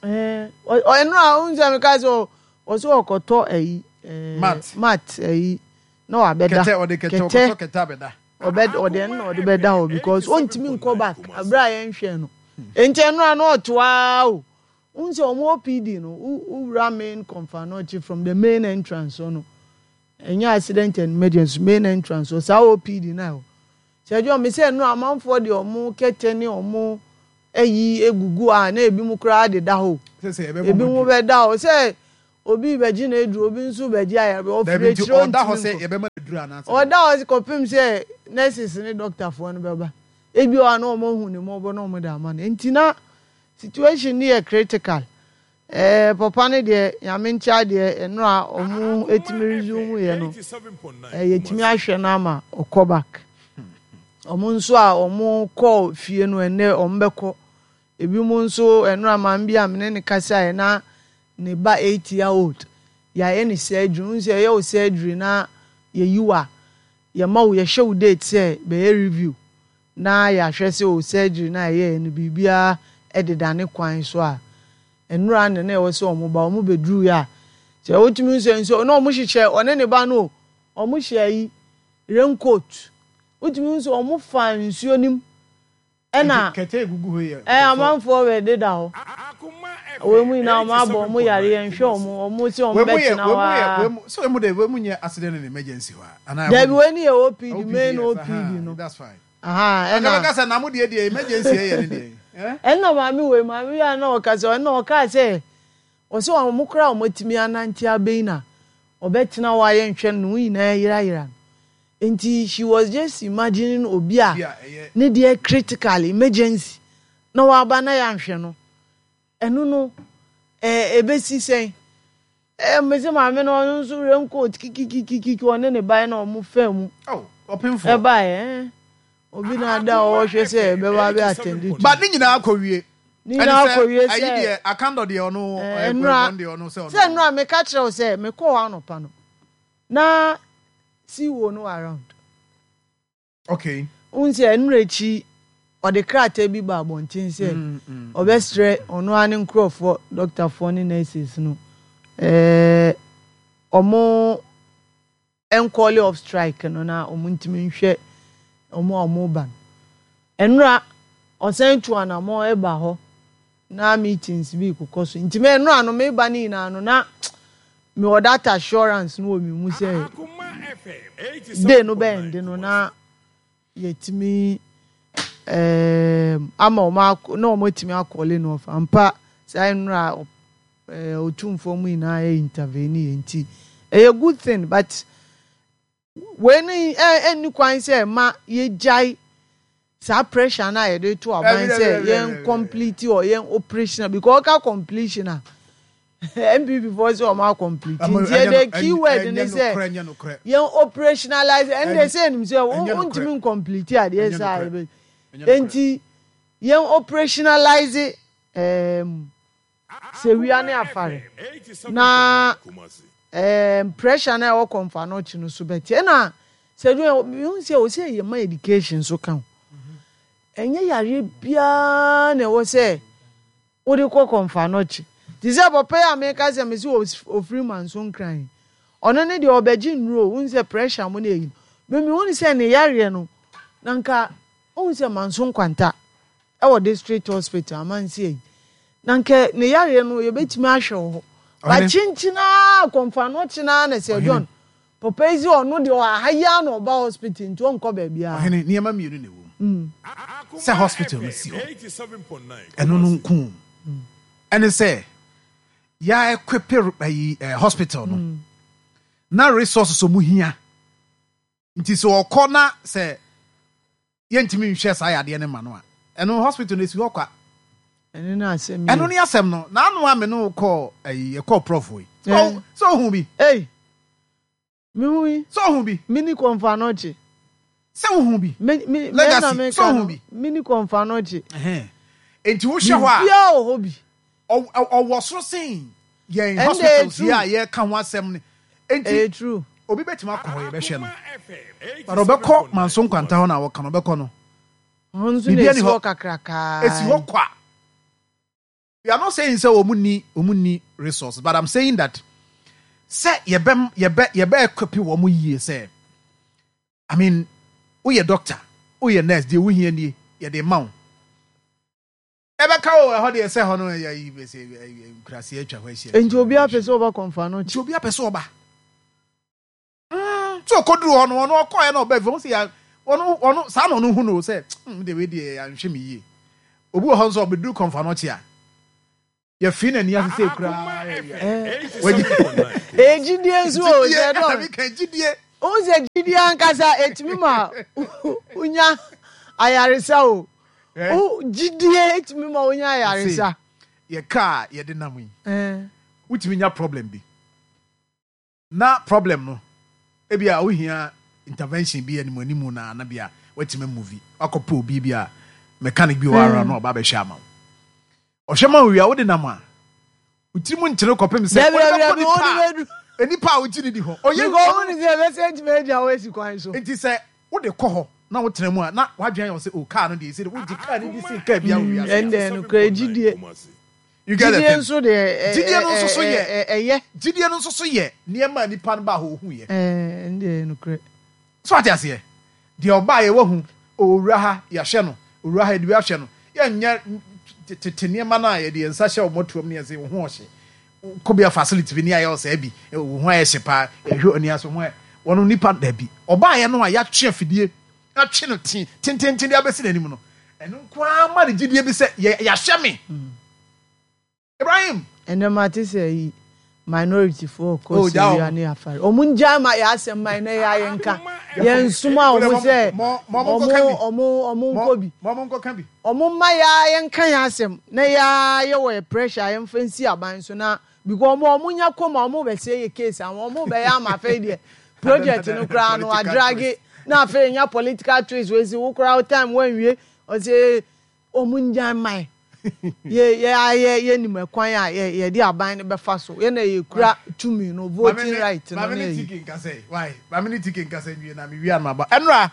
Ɛno a wohu sɛ meka sɛ ɔsɛ ɔkɔtɔ ayi ɛɛ, Mat. Mat ayi na wabɛda. Kɛtɛ, ɔde kɛtɛ ɔkɔtɔ kɛtɛ abɛda. Ɔbɛ ɔde ɛno na ɔde bɛda hɔ because ɔntumi nkɔ back abere a yɛnhwɛ no nti ɛno a na ɔtoa o. Wohu sɛ ɔmo O P D no wo wowura main Kɔmfo Anokye from the main entrance hɔ no, ɛnyɛ accident and emergency, main entrance hɔ saa O P D na ɛhɔ sɛ ɛdwa mi sɛ ɛno amanfoɔ de ɔmo kɛtɛ ne ɔmo ayi egugu a na ebi mu koraa deda hɔ. Ebi mo bɛda hɔ sɛ obi bɛgye na eduru, obi nso bɛgye ayarebe, ɔfiri akyire, ɔda hɔ sɛ ɔntumi nkɔ. Yɛbɛma aduru anaasɛ Ɔda hɔ kɔpem sɛ nurses ne doctorfoɔ no bɛba. Ebi wɔ hɔ a na wɔn ahu ne mmɔbɔ na wɔn de ama no. Nti na situation no yɛ critical. Ɛɛ papa no deɛ, Nyame nkyɛn deɛ, ɛnora ɔmo etumi resume yɛ no, ɛɛ yɛtumi ahwɛ no ama ɔkɔ back. Ɔmo nso a ɔmo kɔɔ fie no, ɛnɛ ɔmo bɛkɔ. Ebi mo nso, ɛnora maame bi a mene ne kasa yɛ na ne ba eight year old yɛayɛ ne surgery. N sɛ ɛyɛ wo surgery na yɛyi wo a, yɛma wo, yɛhyɛ wo date sɛ bɛyɛ review na yɛahwɛ sɛ o surgery na ɛyɛ no biribiara ɛdeda ne kwan so a. Nnura ne na ɛwɔ sɛ ɔmo ba, ɔmo bɛduru yɛ a, sɛ wotumi nso nso na ɔmo hyehyɛ ɔne ne ba no o, ɔmo hyɛ yi raincoat, wotumi nso ɔmo fa nsuo nim ɛna Kɛtɛ egugu hɔ yɛ ɛɛ amanfoɔ bɛ deda hɔ. Wɔn mu nyinaa ɔmo abɔ ɔmo yareɛ nhwɛ ɔmo ɔmo sɛ ɔmo Wei mu yɛ bɛtena wei hɔ mu yɛ aa. wei mu so wei mu de, wei mu nyɛ accident and emergency hɔ a anaa? Dabi, ɛhɔ wei ni yɛ O P D, O P D, main yes, O P D aha, no. That's fine. Aha. Ɛna Ɛna bɛka sɛ na mo deɛ deɛ emergency yɛ ne deɛ, eh? Ɛna maame wei, maame yi a na ɔka sɛ, ɛna ɔka sɛ ɔsɛ ɔmo kora ɔmo atumi anante abɛyi na ɔbɛtena hɔ ayɛ nhwɛ no, ne ho nyinaa yerayera no. Nti she was just imagining obi a Bi a ɛyɛ ne deɛ critical emergency na waba na yɛanhwɛ no, ɛno no ɛɛ ebesi sɛn? Ɛɛ mbese maame no, ɔno nso raincoat kikikikiki, ɔne ne ba na ɔmo fɛ mu. Oh, ɔpemfo. Ɛbaeɛ ɛɛ obi na ada a ɔrehwɛ sɛ ɛbɛba abɛ attend to. But ne nyinaa kɔ wie. Ne nyinaa kɔ wie. Ayi Sɛ deɛ, Akando deɛ, ɔno ɛɛ ɔyɛ nnura ɔno deɛ, ɔno sɛ ɔno sɛ nnura meka kyerɛ wo sɛ mekɔɔ hɔ anɔpa no na C E O no wɔ around. Okay n sɛ nnura akyi ɔde krataa bi ba abɔnten sɛ Mm, mm. ɔbɛsrɛ ɔno ara ne nkurɔfoɔ, dɔktafoɔ ne nurses no, ɛɛ ɔmo ncall off strike no na ɔmo ntumi nhwɛ ɔmo a ɔmo ba no. Nnura ɔsan tu anamɔ ɛba hɔ na meetings bi kokɔ so. Nti mɛ nnura no meba ne nyinaa no na mewɔ that assurance no wɔ mi mu sɛ day no bɛn de no na yɛtumi ɛɛm ama ɔmo akɔ na ɔmo atumi acall no off ampa. Saa nnura ɛɛ otumfoɔ mu nyinaa yɛ intervene yɛ, nti ɛyɛ good thing. But wei ni ɛ ɛni kwan sɛ ɛma yɛgyae saa pressure na yɛde to aban sɛ yɛn complete or yɛn operational, because ɔka completion a, N P P foɔ sɛ ɔmo acomplete, nti yɛde keyword ne sɛ yɛn operationalize. Ɛnde sɛ ɛnim sɛ wontumi ncomplete adeɛ saa yɛbɛ, nti yɛn operationalize um, Sewua ne Afare na um, pressure na ɛwɔ Kɔmfo Anɔkye no so bɛte. Ɛna sɛ mehu sɛ ɔsɛ yɛ ma education so ka ho. Ɛnyɛ yareɛ biara na ɛwɔ sɛ wode kɔ Kɔmfo Anɔkye. Te sɛ papa yi a meka sɛ mesi ofiri Manso Nkran, ɔno ne deɛ ɔbɛgye nnuro. Wohu sɛ pressure mu no ɛyi no, memi hu sɛ ne yareɛ no na nka wohu sɛ Manso Nkwanta ɛwɔ district hospital amansi ayi na nka ne yareɛ no yɛbɛtumi ahwɛ wɔ hɔ bakyenkyinaa Kɔmfo Anɔkye naa. Na sɛ John papa yi sɛ ɔno deɛ ɔha yi a na ɔba hospital, nti ɔnkɔ baabiara. Ɔhene, nneɛma mmienu na ɛwɔ mu sɛ hospital no si hɔ, ɛno no nko ɛne sɛ yɛa equip ayi eh, hospital no na resources ɔmu hia. Nti sɛ ɔkɔ na sɛ yɛntumi nhwɛ saa yadeɛ no ma no a, ɛno hospital no esi hɔ kwa. Ɛno ne asɛm. Ɛno ne asɛm no. N'ano a me no kɔɔ ayi, yɛkɔɔ prof yi Eh. sɛ ohun bi. Ei, mehu yi. Sɛ ohun bi. Mini Kɔmfo Anɔkye. Sɛ ohun bi. Me me Legacy, me na meka sɛ ohun no, bi. Mini Kɔmfo Anɔkye. Ɛhɛn. Nti wohwɛ hɔ a, biribiara wɔ hɔ bi. ɔ- ɔ- ɔwɔ soro sen yɛn Ɛnde hospitals yi a true. yɛka ho asɛm no. Nti Ɛyɛ true. obi bɛtumi akɔ hɔ, yɛbɛhwɛ no, but ɔbɛkɔ Manso Nkwanta hɔ na wɔka no, ɔbɛkɔ no, Hɔ nso na biribiara ni esi hɔ. hɔ kakrakaa. Esi hɔ kwa. We are not saying sɛ wɔn ni wɔn ni resources, but I'm saying that sɛ yɛbɛ yɛbɛ yɛbɛ equip wɔn yie sɛ, I mean, woyɛ doctor, woyɛ nurse deɛ, wohia nie, yɛde ma wo. Ɛbɛka wo ɛhɔ deɛ sɛ hɔ no yɛ yi bɛsɛ nkurase atwa hɔ ahyia. Nti obi apɛ sɛ ɔba Kɔmfo Anɔkye. Nti obi apɛ sɛ ɔba Mm, tí okoduru hɔ no, ɔno ɔkɔɛ na ɔbɛ fɛ ɔmo sɛ ya ɔno ɔno saa na ɔno hu no sɛ mm de wei deɛ yɛanhwɛ mi yie. Obi wɔ hɔ nso, ɔbɛduru Kɔmfo Anɔkye a Yɛfii n'ani ase sɛ koraa. Ɛyɛ gyidie nso o, sɛ dɔn. Gyidie. Wohu sɛ gyidie ankasa ɛtumi ma wonya ayaresa o. Wo gyidie ɛtumi ma wonya ayaresa. Yɛ kaa yɛde nam yi. Wotumi nya problem bi. Na problem no, ebi a wohia intervention bi anim anim na na bi a watumi movie. Wakɔpɛ obi bi a mechanic bi wɔ ara na ɔba abɛhwɛ ama wo. Ɔhwɛ ma wo wie a wode nam a wotiri mu nkyere kɔpem sɛ wode bɛkɔ nipa a nipa a wogye ne di hɔ. Ɔyɛ Because wo ne sɛ ɛbɛsɛ ntumi agya wo asi kwan so. Nti sɛ wode kɔ hɔ na wotena mu a na wadwene ayɛ wo sɛ o kaa no deɛ ɛsɛ wogye kaa no di sen kaa bi a wɔ wiase. Ɛndɛ no kura gyidie. You get the Gyidie thing? nso deɛ Gyidie no nso so yɛ ɛyɛ. Gyidie no nso so yɛ nneɛma a nipa no baa hɔ ohu yɛ. Ɛndɛ no kura. So ate aseɛ, deɛ ɔbaa yɛ wahu owura ha yɛahwɛ no, owura ha yɛde bi ahwɛ no, yɛnyɛ tete nneɛma no a yɛde yɛn nsa hyɛ wɔn atuam ne yɛn sɛ wo ho ɔhye kɔ bi a facility bi ne ayɛ ɔsɛɛ bi wo ho ayɛ hye paa yɛhwɛ ani aso ho ayɛ wɔn nipa dabi ɔbaa yɛ no a yɛatwe afidie atwe no te tententen de abɛsi n'anim no, ɛno nko ara ma ne gyidie bi sɛ yɛ yɛahwɛ me Ibrahim. Ɛnɛ ma te sɛ yi minority foɔ kɔ Syria ne afare ɔmo ngya ma yɛ asɛm man na yɛ ayɛ nka yɛn nsoma a ɔmo sɛ ɔmo ɔmo ɔmo nkɔ bi ɔmo mma yɛ ayɛ nka yɛn asɛm na yɛ ayɛ wɔ yɛ pressure yɛn fɛ nsi aban so na because ɔmo ɔmo nya kɔm a ɔmo bɛ sɛ yɛ case ama ɔmo bɛ yɛ ama afei deɛ project no koraa no adrage na afei nya political twist wei si wo koraa time wɔnwie ɔsɛ ɔmo ngya man yɛ yɛ ayɛ yɛ nim ɛkwan a yɛ yɛde aban no bɛfa so yɛ na yɛ kura tumi no voting right no. Maame ne tiki nkasa yi why maame ne tiki nkasa nwie na mi wia no aba ɛnura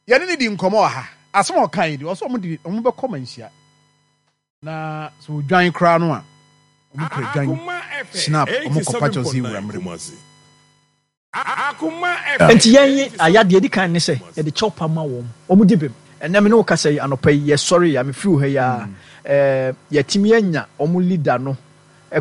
yɛne ne di nkɔmɔ wɔ ha asɛm a ɔka yi di ɔsɛ ɔmo di ɔmo bɛkɔ ma nhyia na so odwan koraa no a ɔmo kura dwan snap ɔmo kɔ pakyɛw sɛ ewura mmerɛ mu. Nti yɛn ye ayadeɛ di kan ne sɛ yɛde kyɛw pa ma wɔn wɔn di bem. Ɛnɛ me ne wo kasa yi anɔpa yi yɛsɔre ya mefiri wo ha yi a ɛɛ yɛtumi anya wɔn leader no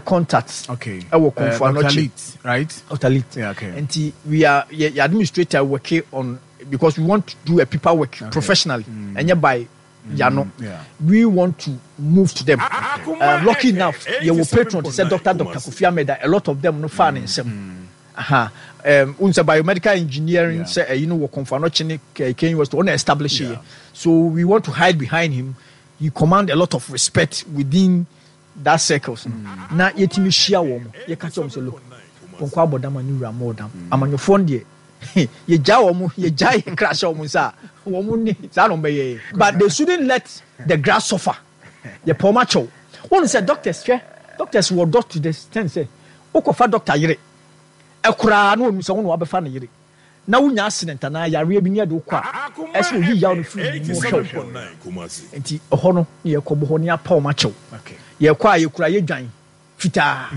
contact okay ɛwɔ Komfo uh, Doctor Anokye. Leet, right? Doctor Leet. Yeah, okay. Nti we are yɛ yɛ administrator working on because we want to do a paper work okay. professionally ɛnyɛ by yano. Yeah. We want to move to them. Uh, lucky enough yɛwɔ patron te sɛ Doctor Doctor Kofi Ahmed a lot of them no fa ne nsam. Aha. Um, sɛ biomedical engineering sɛ ɛyi no wɔ Komfo Anokye ne K University ɔna establish yeah. So we want to hide behind him. He command a lot of respect within that circles. Mm. Na yɛtumi hyia wɔn yɛka kyerɛ wɔn sɛ look pɔnkɔ abɔdam a ne wura mɔ ɔdam amanyɔfoɔ no deɛ yɛgya wɔn yɛgya yɛ kra hyɛ wɔn nsa a wɔn ne saa na wɔn bɛyɛ, but they shouldn't let the grass suffer. Yɛpɛ wɔn akyɛw wɔn sɛ doctors hwɛ doctors wɔ dɔ to the extent sɛ wokɔfa doctor yere ɛkoraa na wɔn sɛ wɔn na wabɛfa ne yere na wonya accident anaa yareɛ bi ne yɛde wokɔ a ɛsɛ oyi yaw no firi mu hwɛ wo. Nti ɛhɔ no ne yɛkɔbɔ hɔ ne apa wɔn akyɛw. Yɛkɔ a yɛkura yɛdwan fitaa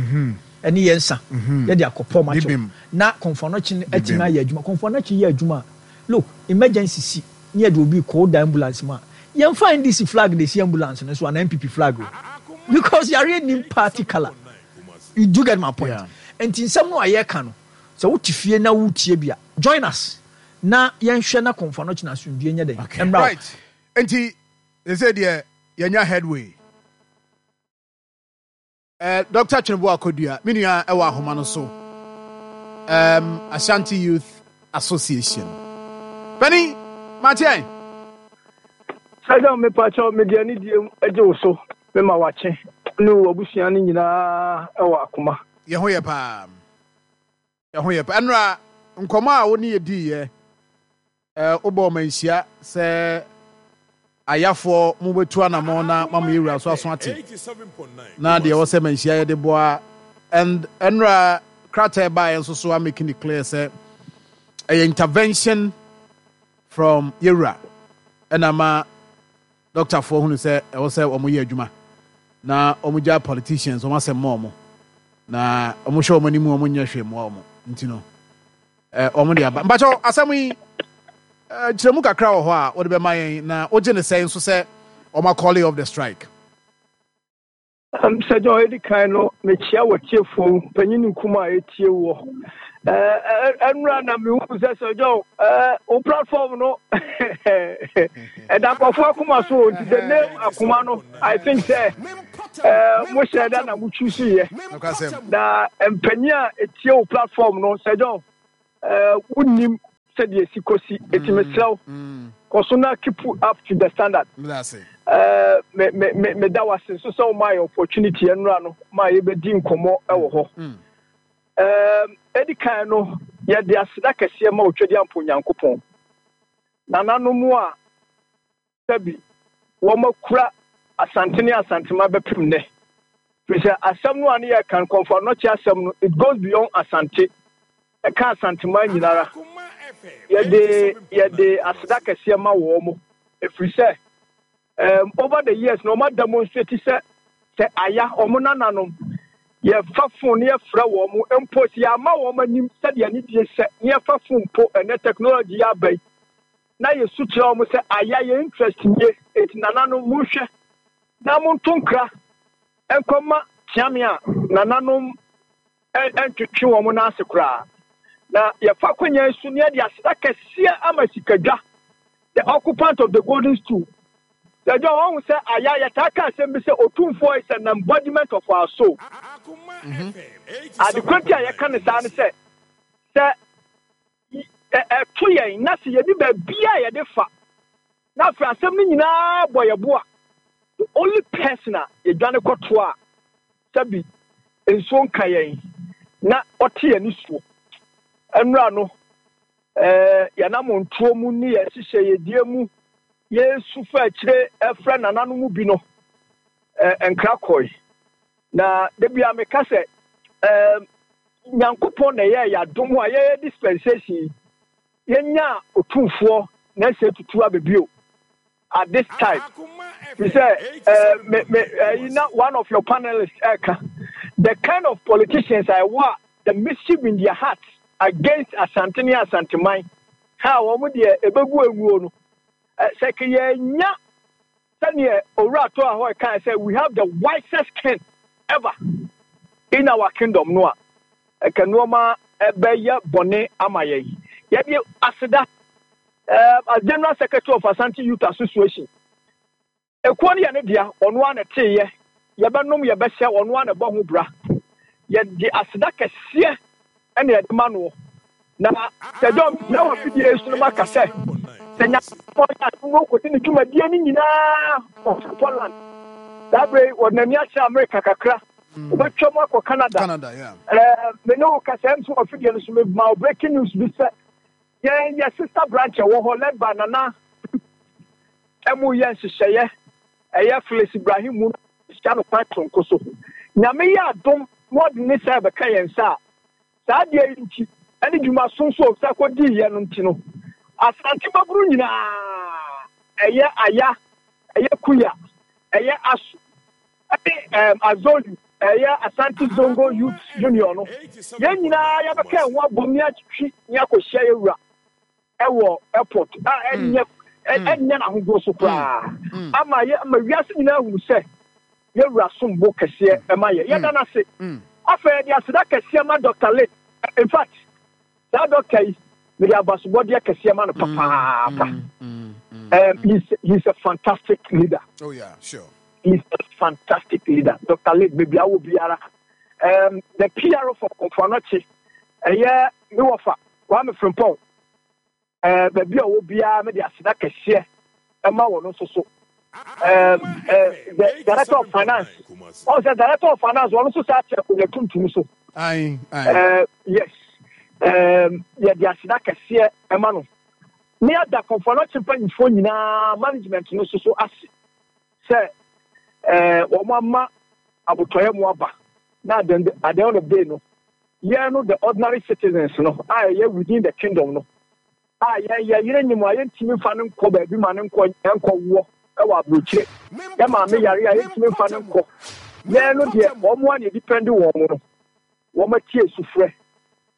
ɛne yɛn nsa yɛde akɔpɔ wɔn akyɛw na Komfo Anokye no atumi ayɛ adwuma. Komfo Anokye yɛ adwuma a look emergency si ne yɛde obi kɔ da ambulance mu a yɛmfa N D C flag na esi ambulance no so anaa N P P flag o because yareɛ nim party colour. You do get my point? Nti nsɛm no a yɛka no sɛ wote fie na wotie bi a join us na yɛnhwɛ na Komfo Anokye na asomdwie nyɛ dɛn mmra. Right. Nti they say deɛ yɛnya headway. Uh, Doctor Tweneboa Kodua, me nua ɛwɔ ahoma no so. Um, Ashanti Youth Association. Penny, Mathieu. Saja me pacho me dia ni die agye wo so me ma wache ne wo abusua ne nyinaa ɛwɔ akoma. Ye ho ye pa. Ye ho ye pa. Enra nkɔmɔ a wo ne ye di ye. Eh obo manhyia sɛ ayafoɔ mo betu anamɔ na mamu yewura so aso ate. Na deɛ wɔ sɛ manhyia ye de boa and enra krataa ba yɛn nso so are making it clear sɛ ɛyɛ intervention from yewura ɛna ma doctor foɔ hunu sɛ ɛwɔ sɛ wɔn yɛ adwuma na wɔn gya politicians wɔn asɛm ma wɔn na wɔn hwɛ wɔn anim wɔn nyɛ hwee mmoa wɔn nti no ɛɛ wɔn de aba mpakyɛw asɛm yi ɛɛ kyerɛmu kakra wɔ hɔ a wɔde bɛma yɛn na wogye ne sɛn nso sɛ wɔn akɔle off the strike. Um, Sir John edi kan no mekyia wɔ tiefo panyin nkuma a etie wɔ eh enra na mehu sɛ Sir John eh o platform no ɛda nkɔfo akoma so nti the name akoma no I think sɛ Eh, mo hyɛ da na mo choose yɛ. Na mpanyin a etie wo platform no, Sir John, eh, wonnim sɛdeɛ esi kɔsi. Eti mesrɛ wo, kɔ so na keep up to the standard. Eh, me me me meda wo ase nso sɛ womaa yɛ opportunity ɛnora no ma yɛbɛdi nkɔmmɔ wɔ hɔ. Eh, edi kan no, yɛde aseda kɛseɛ ma Otwadiampo Nyankopɔn. Nananom a sɛbi wɔakura Asante ne Asantema bɛpem nnɛ. Firi sɛ asɛm no a ne yɛreka no, Kɔmfo Anɔkye asɛm no, it goes beyond Asante. Ɛka Asanteman nyinara. Yɛde yɛde aseda kɛseɛ ma wɔn, ɛfiri sɛ um, over the years na wɔn ademonstrate sɛ sɛ aya wɔn nananom yɛfa phone ne yɛfrɛ wɔn mpo sɛ yɛama wɔn anim sɛdeɛ ne die sɛ ne yɛfa phone mpo ɛnɛ technology yɛ aba yi na yɛsu kyerɛ wɔn sɛ aya yɛ interest nie eti nananom monhwɛ na monto nkra nkɔma kyeame a nananom ntwetwe wɔn n'ase koraa. Na yɛfa akonnwa yi so ne yɛde aseda kɛseɛ ama Sikadwa, the occupant of the golden stool. Sɛ John wɔn sɛ aya yɛtaa ka asɛm bi sɛ Otumfoɔ is an embodiment of our soul. Adekora nti a yɛka ne saa ne sɛ sɛ ɛto yɛn na sɛ yɛde baabi a yɛde fa na afei asɛm no nyinaa bɔ yɛ bo a, the only person a yɛdwane kɔto a sɛbi nsuo nka yɛn na ɔte yɛn nisuo nnura no, ɛɛ yɛnam ntuo mu ne yɛn hyehyɛ yɛdie mu yɛsu fa akyire ɛfrɛ nananom bi no, ɛɛ nkra kɔe. Na debi a meka sɛ ɛɛ Nyankopɔn na ɛyɛ yɛadom a yɛyɛ dispensation yɛnya Otumfoɔ na ɛsɛ tutu abɛbio at this time. He said, uh, me, me, uh, you know, one of your panelists, uh, the kind of politicians I want, the mischief in their hearts against Asante ne Asanteman, how wɔn deɛ ebegu enguo no, sɛ yɛnya sɛdeɛ Owura to a hɔ ɛka sɛ we have the wisest king ever in our kingdom no a, ɛka nneɛma ɛbɛyɛ bɔne ama yɛn. Yɛde aseda, uh, as General Secretary of Asante Youth Association, ekuo no yɛ ne dea, ɔno ara na ɛteeɛ, yɛbɛnom yɛbɛhyɛ, ɔno ara na ɛbɔ ho bra. Yɛde aseda kɛseɛ ɛna yɛde ma noɔ. Na sɛ John na wɔ fidie so no maka sɛ sɛ Nyankopɔn yɛ adom no kɔdi ne dwumadie no nyinaa ɔfiri Poland saa berɛ yi, wɔde n'ani akyerɛ Amerika kakra, wobɛtwa mu akɔ Canada. Canada, yeah. Ɛɛ, me ne wo kasa nso wɔ fidie no so, mema wo breaking news bi sɛ yɛn yɛ sister branch ɛwɔ hɔ led by Nana ɛmu yɛ nhyehyɛeɛ, ɛyɛ Phyllis Ibrahim mu hyia no kwan sonko so. Nyame yɛ adom na ɔde ne sɛ bɛka yɛn nsa a, saa adeɛ yi nti ɛne dwumaso nso a ɔsa kɔdiiɛ no nti no, Asante babunu nyinaa, ɛyɛ Aya, ɛyɛ Kuya, ɛyɛ Aso ɛne ɛm Azolu, ɛyɛ Asante Zongo Youth Union no, yɛn nyinaa yɛbɛka yɛn ho abom ne atwi ne akɔhyia yɛwura ɛwɔ airport a ɛnyɛ ɛnyɛ n'ahodoɔ so koraa ama yɛ ama wiase nyinaa hunu sɛ yɛwura sombo kɛseɛ ɛma yɛ. Yɛda n'ase. Afei yɛde aseda kɛseɛ ma Doctor Late. In fact, saa doctor yi, mede abasobɔdeɛ kɛseɛ ma no papaapa. Um, he's, he's a fantastic leader. Oh yeah, sure. He's a fantastic leader. Doctor Late, baby, I will be ara. Um, the P R O for Komfo Anokye, ɛyɛ me wɔfa Kwame Frimpong. Uh, baabi a ɔwɔ biara, mede aseda kɛseɛ ɛma wɔn nso so. Um, uh, the director of finance, ɔn sɛ director of finance, wɔn nso saa kyerɛ akonnwa tuntum so. Aye, aye. Uh, yes, um, yɛde aseda kɛseɛ ɛma no. Ne ada Komfo Anokye mpanyinfoɔ nyinaa, management no nso so ase sɛ ɛɛ wɔn ama abotɔyɛ mu aba na at the at the end of the day no, yɛn no, the ordinary citizens no a ɛyɛ within the kingdom no a yɛn yɛ yere nyim a yɛntumi nfa ne nkɔ baabi ma ne nkɔ nkɔ woɔ ɛwɔ aburokyire, yɛ maame yare a yɛntumi nfa ne nkɔ, yɛn no deɛ wɔn a na yɛdepend wɔn no, wɔn atie sufrɛ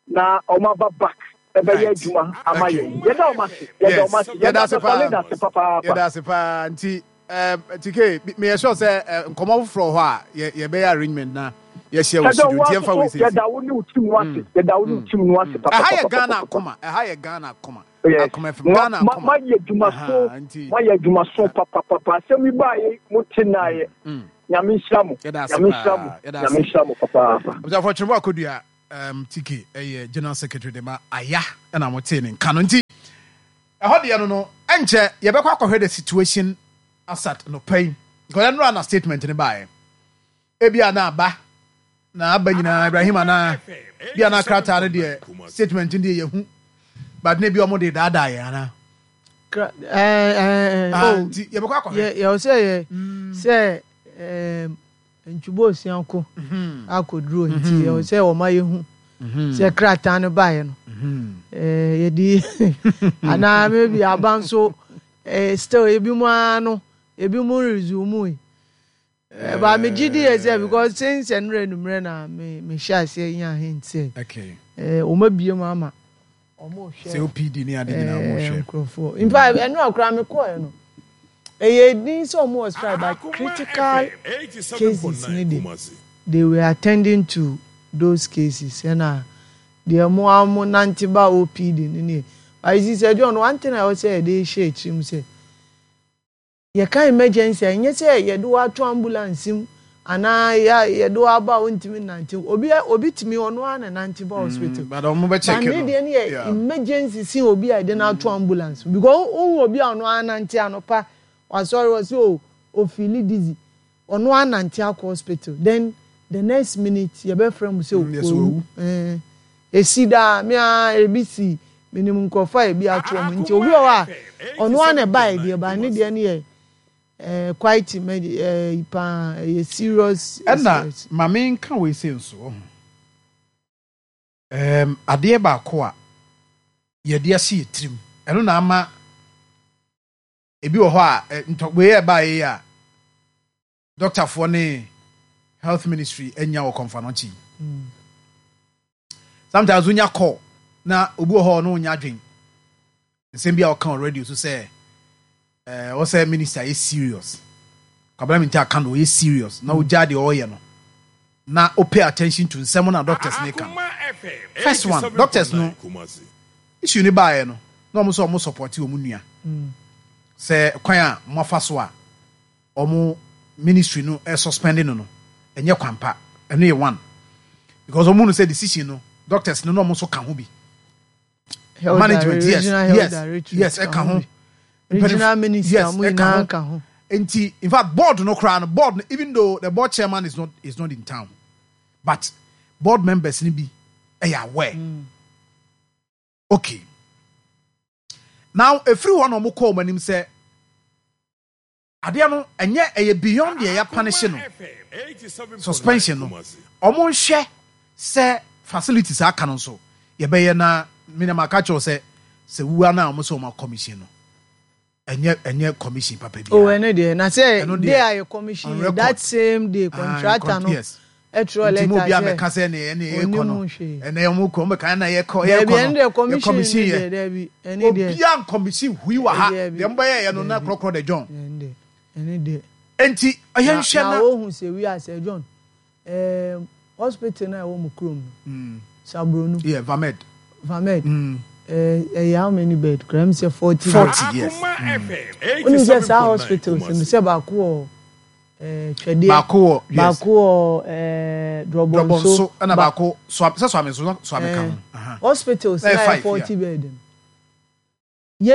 na wɔn aba back ɛbɛyɛ adwuma ama yɛn. Yɛda wɔn ase, yɛda wɔn ase, yɛda ase paa. Ase papaapa. Yɛda ase paa. Nti T K, meyɛ sure sɛ nkɔmmɔ foforɔ hɔ a yɛbɛyɛ arrangement na yɛhyia wɔ studio, nti yɛmfa wei sɛsi. Yɛda wo ne wo team no ase, yɛda wo ne wo team no ase. Ɛha yɛ Ghana Akoma, ɛha yɛ Ghana Akoma, Akoma F M, Ghana Akoma. Mayɛ adwumaso, mayɛ adwumaso papapapa. Asɛm yi baayɛ mo te naayɛ. Nyame nhyira mo. Yɛda ase Nyame nhyira mo. paa. Yɛda Nyame ase. nhyira mo papaapa. Abusuafoɔ, Twene Akɔdua um, T K ɛyɛ General Secretary de ma Aya ɛna motee ne nka no. Nti ɛhɔ deɛ no no ɛnkyɛ yɛbɛkɔ akɔhwɛ the situation asat no pɛn because ɛnora na statement ne baeɛ. Ebia na aba na aba nyinaa Ibrahim anaa bia na krataa no deɛ, statement no deɛ yɛhu, but ne bi ɔmo de daadaa yɛn anaa? Kra- ɛɛ ɛɛ Ah, oh, nti yɛbɛkɔ akɔhwɛ. Yɛ yɛwɔ sɛ yɛ sɛ ɛɛm ntwubo osia ko akɔduro, nti yɛwɔ sɛ wɔma yɛhu sɛ krataa no baeɛ no, ɛɛ yɛde anaa maybe aba nso, ɛɛ still ebi mu ara no, ebi mu resume yi. ɛɛ ba megye di yɛ sɛ because since ɛnura enumere na me me hyɛ aseɛ nya hint sɛ okay ɛɛ wɔn abie mu ama wɔn rehwɛ. Sɛ O P D ne ade nyinaa mo ɛɛ hwɛ. Nkurɔfoɔ, in fact, ɛnu akora mi kɔɔ no, ɛyɛ din sɛ ɔmo wɔ strike, but critical cases ni de, they were attending to those cases. Ɛna deɛ mo a mo nante ba O P D ni nie. But you see, sɛ John, one thing a ɛwɔ sɛ yɛde hyɛ akyiri mu sɛ yɛka emergency a, ɛnyɛ sɛ yɛde wo ato ambulance mu anaa yɛ yɛde wo aba a wontumi nante. Obi obi tumi ɔno ara na nante ba hospital. But ɔmo bɛ check but ne no. deɛ no yɛ Yeah. emergency sin obi a yɛde no ato ambulance, because wohu obi a ɔno ara nante anɔpa, wasɔre wɔ sɛ o ofeeli dizzy, ɔno ara nante akɔ hospital, then the next minute yɛbɛfrɛ mu sɛ Mm, yes, owu. Ɛɛ esi daa me a ebi si minim nkurɔfoɔ a ebi ato wɔn. Nti obi wɔ hɔ a ɔno ara na ɛba yɛ deɛ, ba ne deɛ no yɛ ɛɛ quite emerg ɛɛ paa, ɛyɛ serious. Ɛna Serious. Maame, nka wei sɛ nso ɔho um, adeɛ baako a yɛde ahyɛ yɛ tirim, ɛno na ama ebi wɔ hɔ a ɛ, ntɔ wei yɛ ɛbaa yi a dɔktafoɔ ne health ministry anya wɔ Kɔmfo Anɔkye yi, sometimes wonya call na obi wɔ hɔ a ɔno wonya adwen nsɛm bi a ɔka wɔ radio so sɛ ɛɛ ɔsɛ minister yɛ serious, Kwabena Mintah aka no, ɔyɛ serious na ogya deɛ ɔreyɛ no na o pay attention to nsɛm na doctors ne ka. First one, doctors no issue ne baeɛ no, na ɔmo sɛ ɔmo support ɔmo nua sɛ kwan a mo afa so a ɔmo ministry no ɛ suspend no no ɛnyɛ kwan pa. Ɛno yɛ one, because ɔmo nu sɛ decision no, doctors no na ɔmo nso ka ho bi. Health management, yes. Regional health Yes. directorate Yes, ka ɛka ho. bi. Regional minister, yes, mo ɛka nyinaa ho. ka ho. Nti in fact, board no koraa no, board no, even though the board chairman is not is not in town, but board members ni bi ɛyɛ aware. Okay, now efiri hɔ na ɔmo kɔɔ ɔmo anim sɛ adeɛ no ɛnyɛ, ɛyɛ beyond deɛ yɛ punish no, suspension no. Ɔmo nhwɛ sɛ facilities aka no nso yɛbɛyɛ. Na minam aka kyerɛw sɛ sɛ wua no a, ɔmo sɛ ɔmo commission no ɛnyɛ ɛnyɛ commission papa bi. O, ɛno deɛ na sɛ Ɛno deɛ, day a yɛ commission on yɛ record. That same day, contractor no yes ɛtwerɛ nti mo letter obi sɛ amɛka sɛ ne ɛne yɛkɔ onim no hwee. Ɛnɛ ɔmo kɔ, ɔmo bɛka ɛna yɛkɔ Dɛbi, yɛkɔ no ɛno deɛ yɛ commission commission no yɛ deɛ, dɛbi, ɛne deɛ obiara commission hui wɔ ha. Dɛbi. Deɛ mo bɛyɛ yɛ no na Dɛbi. korɔkorɔ de John. Ɛne deɛ ɛne deɛ Nti ɔyɛ na nhwɛ na na wohu sɛ wi asɛ John, ɛɛm hospital na ɛwɔ mo kurom no, Sabronu. Yeah, Vamed. Vamed. Mm. ɛɛ ɛyɛ how many bed kura mi sɛ forty? Forty, yes. Wonim sɛ saa hospitals no sɛ baako wɔ ɛɛ Twɛdeɛ, Baako wɔ, yes. Baako wɔ ɛɛ Drɔbɔnso. Drɔbɔnso, Ɛna ba- baako so sɛ Soame so Soame ka ho. ɛɛ, Aha. hospitals na Ɛyɛ yɛ five, forty yeah. bed no,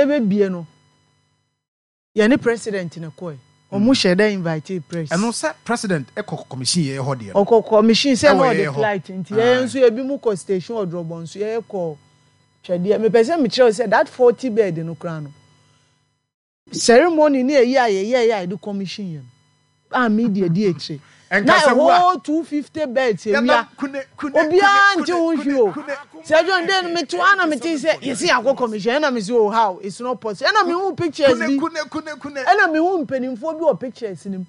yɛbɛbie no, yɛne president ne kɔɛ, ɔmo hyɛ dɛ invite press. Ɛno sɛ president ɛkɔ commission yɛ hɔ deɛ no. Ɔkɔ commission sɛ na Ɛwɔ ɔde yɛyɛ hɔ. flight, nti Aye. yɛn nso ebi mu kɔ station wɔ Drɔbɔnso, yɛyɛ kɔ Twɛdeɛ. Mepɛ sɛ mekyerɛw sɛ that forty bed no koraa no, ceremony ne eyi a yɛyɛ yɛ a yɛde commission yɛ no a media di akyire na Ɛnka sɛ wo a- ɛhɔ two fifty beds ewia. Yɛnam kune kune Obiara kune nte ho kune hwee o. kune. Sɛ John den no, mete hɔ ana mete sɛ yɛsi akɔ commission, ɛna mesi, oh, how, it's not possible. Ɛna mehu pictures kune bi kune kune kune. Ɛna mehu mpanimfoɔ bi wɔ pictures nim.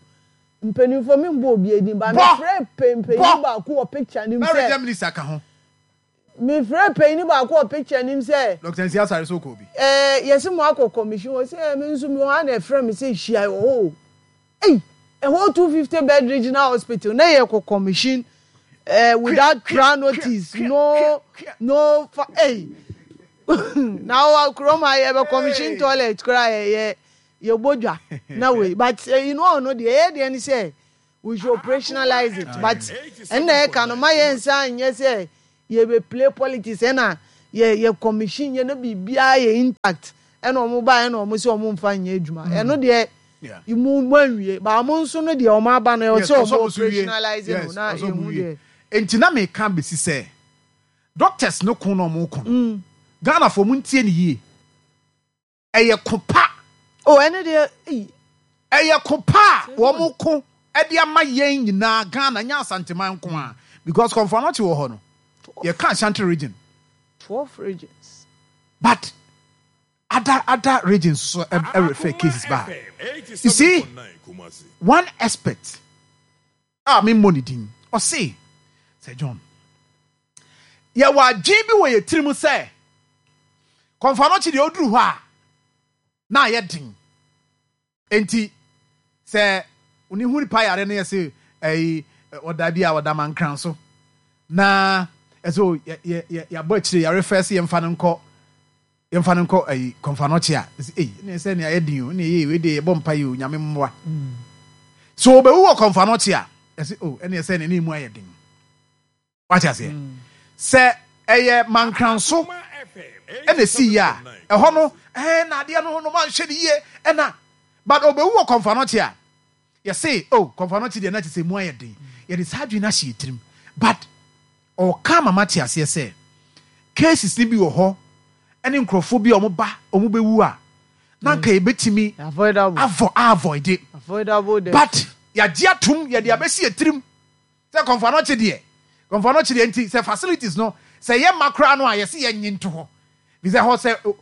Mpanimfoɔ, mi mbɔ obi edin ba. Bɔ! Mefrɛ mpanyin Bɔ! baako wɔ picture nim Na region sɛ minister ka ho. Mefrɛ panyin baako wɔ picture nim sɛ Doctor Nsia Asare so kɔ bi. ɛɛ yɛsi mo akɔ commission wɔ sɛ ɛɛ mi nso mi wɔ ha na ɛfrɛ mi sɛ hyia wɔ hɔ o. Ɛyi, ɛhɔ two fifty bed regional hospital na yɛ kɔ commission ɛɛ without prior notice, no no fa. Ɛyi, na wɔ kurom a yɛ bɛ commission toilet koraa, yɛ yɛ yɛ bɔ dwa na wei. But ɛyi no, ɔno deɛ ɛyɛ deɛ ni sɛ We should operationalize it, but ɛnna ɛka no ma yɛn nsa nyɛ sɛ yɛbɛ play politics. Ɛna yɛ yɛ commission yɛ no, biribiara yɛ intact, ɛna ɔmo ba, ɛna ɔmo sɛ ɔmo nfa nyɛ adwuma. Ɛno deɛ, mu mu anwie ba, ɔmo nso no deɛ, ɔmo aba no, ɛwɔ sɛ ɔmo operationalize no na ehu deɛ. Nti na meka besi sɛ doctors no ko na ɔmo ko no, Ghana fo, mo ntie ne yie, ɛyɛ ko pa. O, ɛne deɛ eyi. Ɛyɛ ko pa a wɔn ko ɛde ama yɛn nyinaa Ghana, nyɛ Asanteman nko a, because Kɔmfo Anɔkye wɔ hɔ no, yɛka Ashanti Region. Twelve regions. But other other regions so ɛrefer cases ba. You see, one expert a mi mmɔ ne din, ɔse sɛ, "John, yɛwɔ adwene bi wɔ yɛ tirim sɛ Kɔmfo Anɔkye deɛ, ɔduru hɔ a na ayɛ den. Nti sɛ oni hu nipa yare no, yɛ sɛ ɛyi ɔda bi a ɔda mankran so na ɛsɛ yɛ yɛ yɛ yɛabɔ akyire yare fɛ sɛ yɛmfa no nkɔ yɛmfa no nkɔ ɛyi Kɔmfo Anɔkye a, ɛsɛ ɛyi ne sɛ nea ayɛ den o, ne ɛyɛ wei de, yɛbɔ mpa yi o, Nyame mmoa." So obewu wɔ Kɔmfo Anɔkye a, ɛsɛ o, ɛne ɛsɛ ne ne mu ayɛ den. Wate aseɛ sɛ ɛyɛ mankran so ɛna esi yie a, ɛhɔ no ɛɛ na adeɛ no no manhwɛ ne yie ɛna, but obewu wɔ Kɔmfo Anɔkye a, yɛse o, Kɔmfo Anɔkye deɛ, na kyerɛ sɛ mu ayɛ den. Yɛde saa adwene no ahyɛ yɛ tirim, but ɔka mama te aseɛ sɛ cases ni bi wɔ hɔ ɛne nkurɔfoɔ bi a wɔn ba wɔn bɛwu a, na nka yɛbɛtumi avoidable. avo avoid it. Avoidable death. But yɛagye atom, yɛde abɛsi yɛ tirim sɛ Kɔmfo Anɔkye deɛ, Kɔmfo Anɔkye deɛ, nti sɛ facilities no sɛ yɛ ma koraa no a, yɛsi yɛ nye nto hɔ bi sɛ hɔ sɛ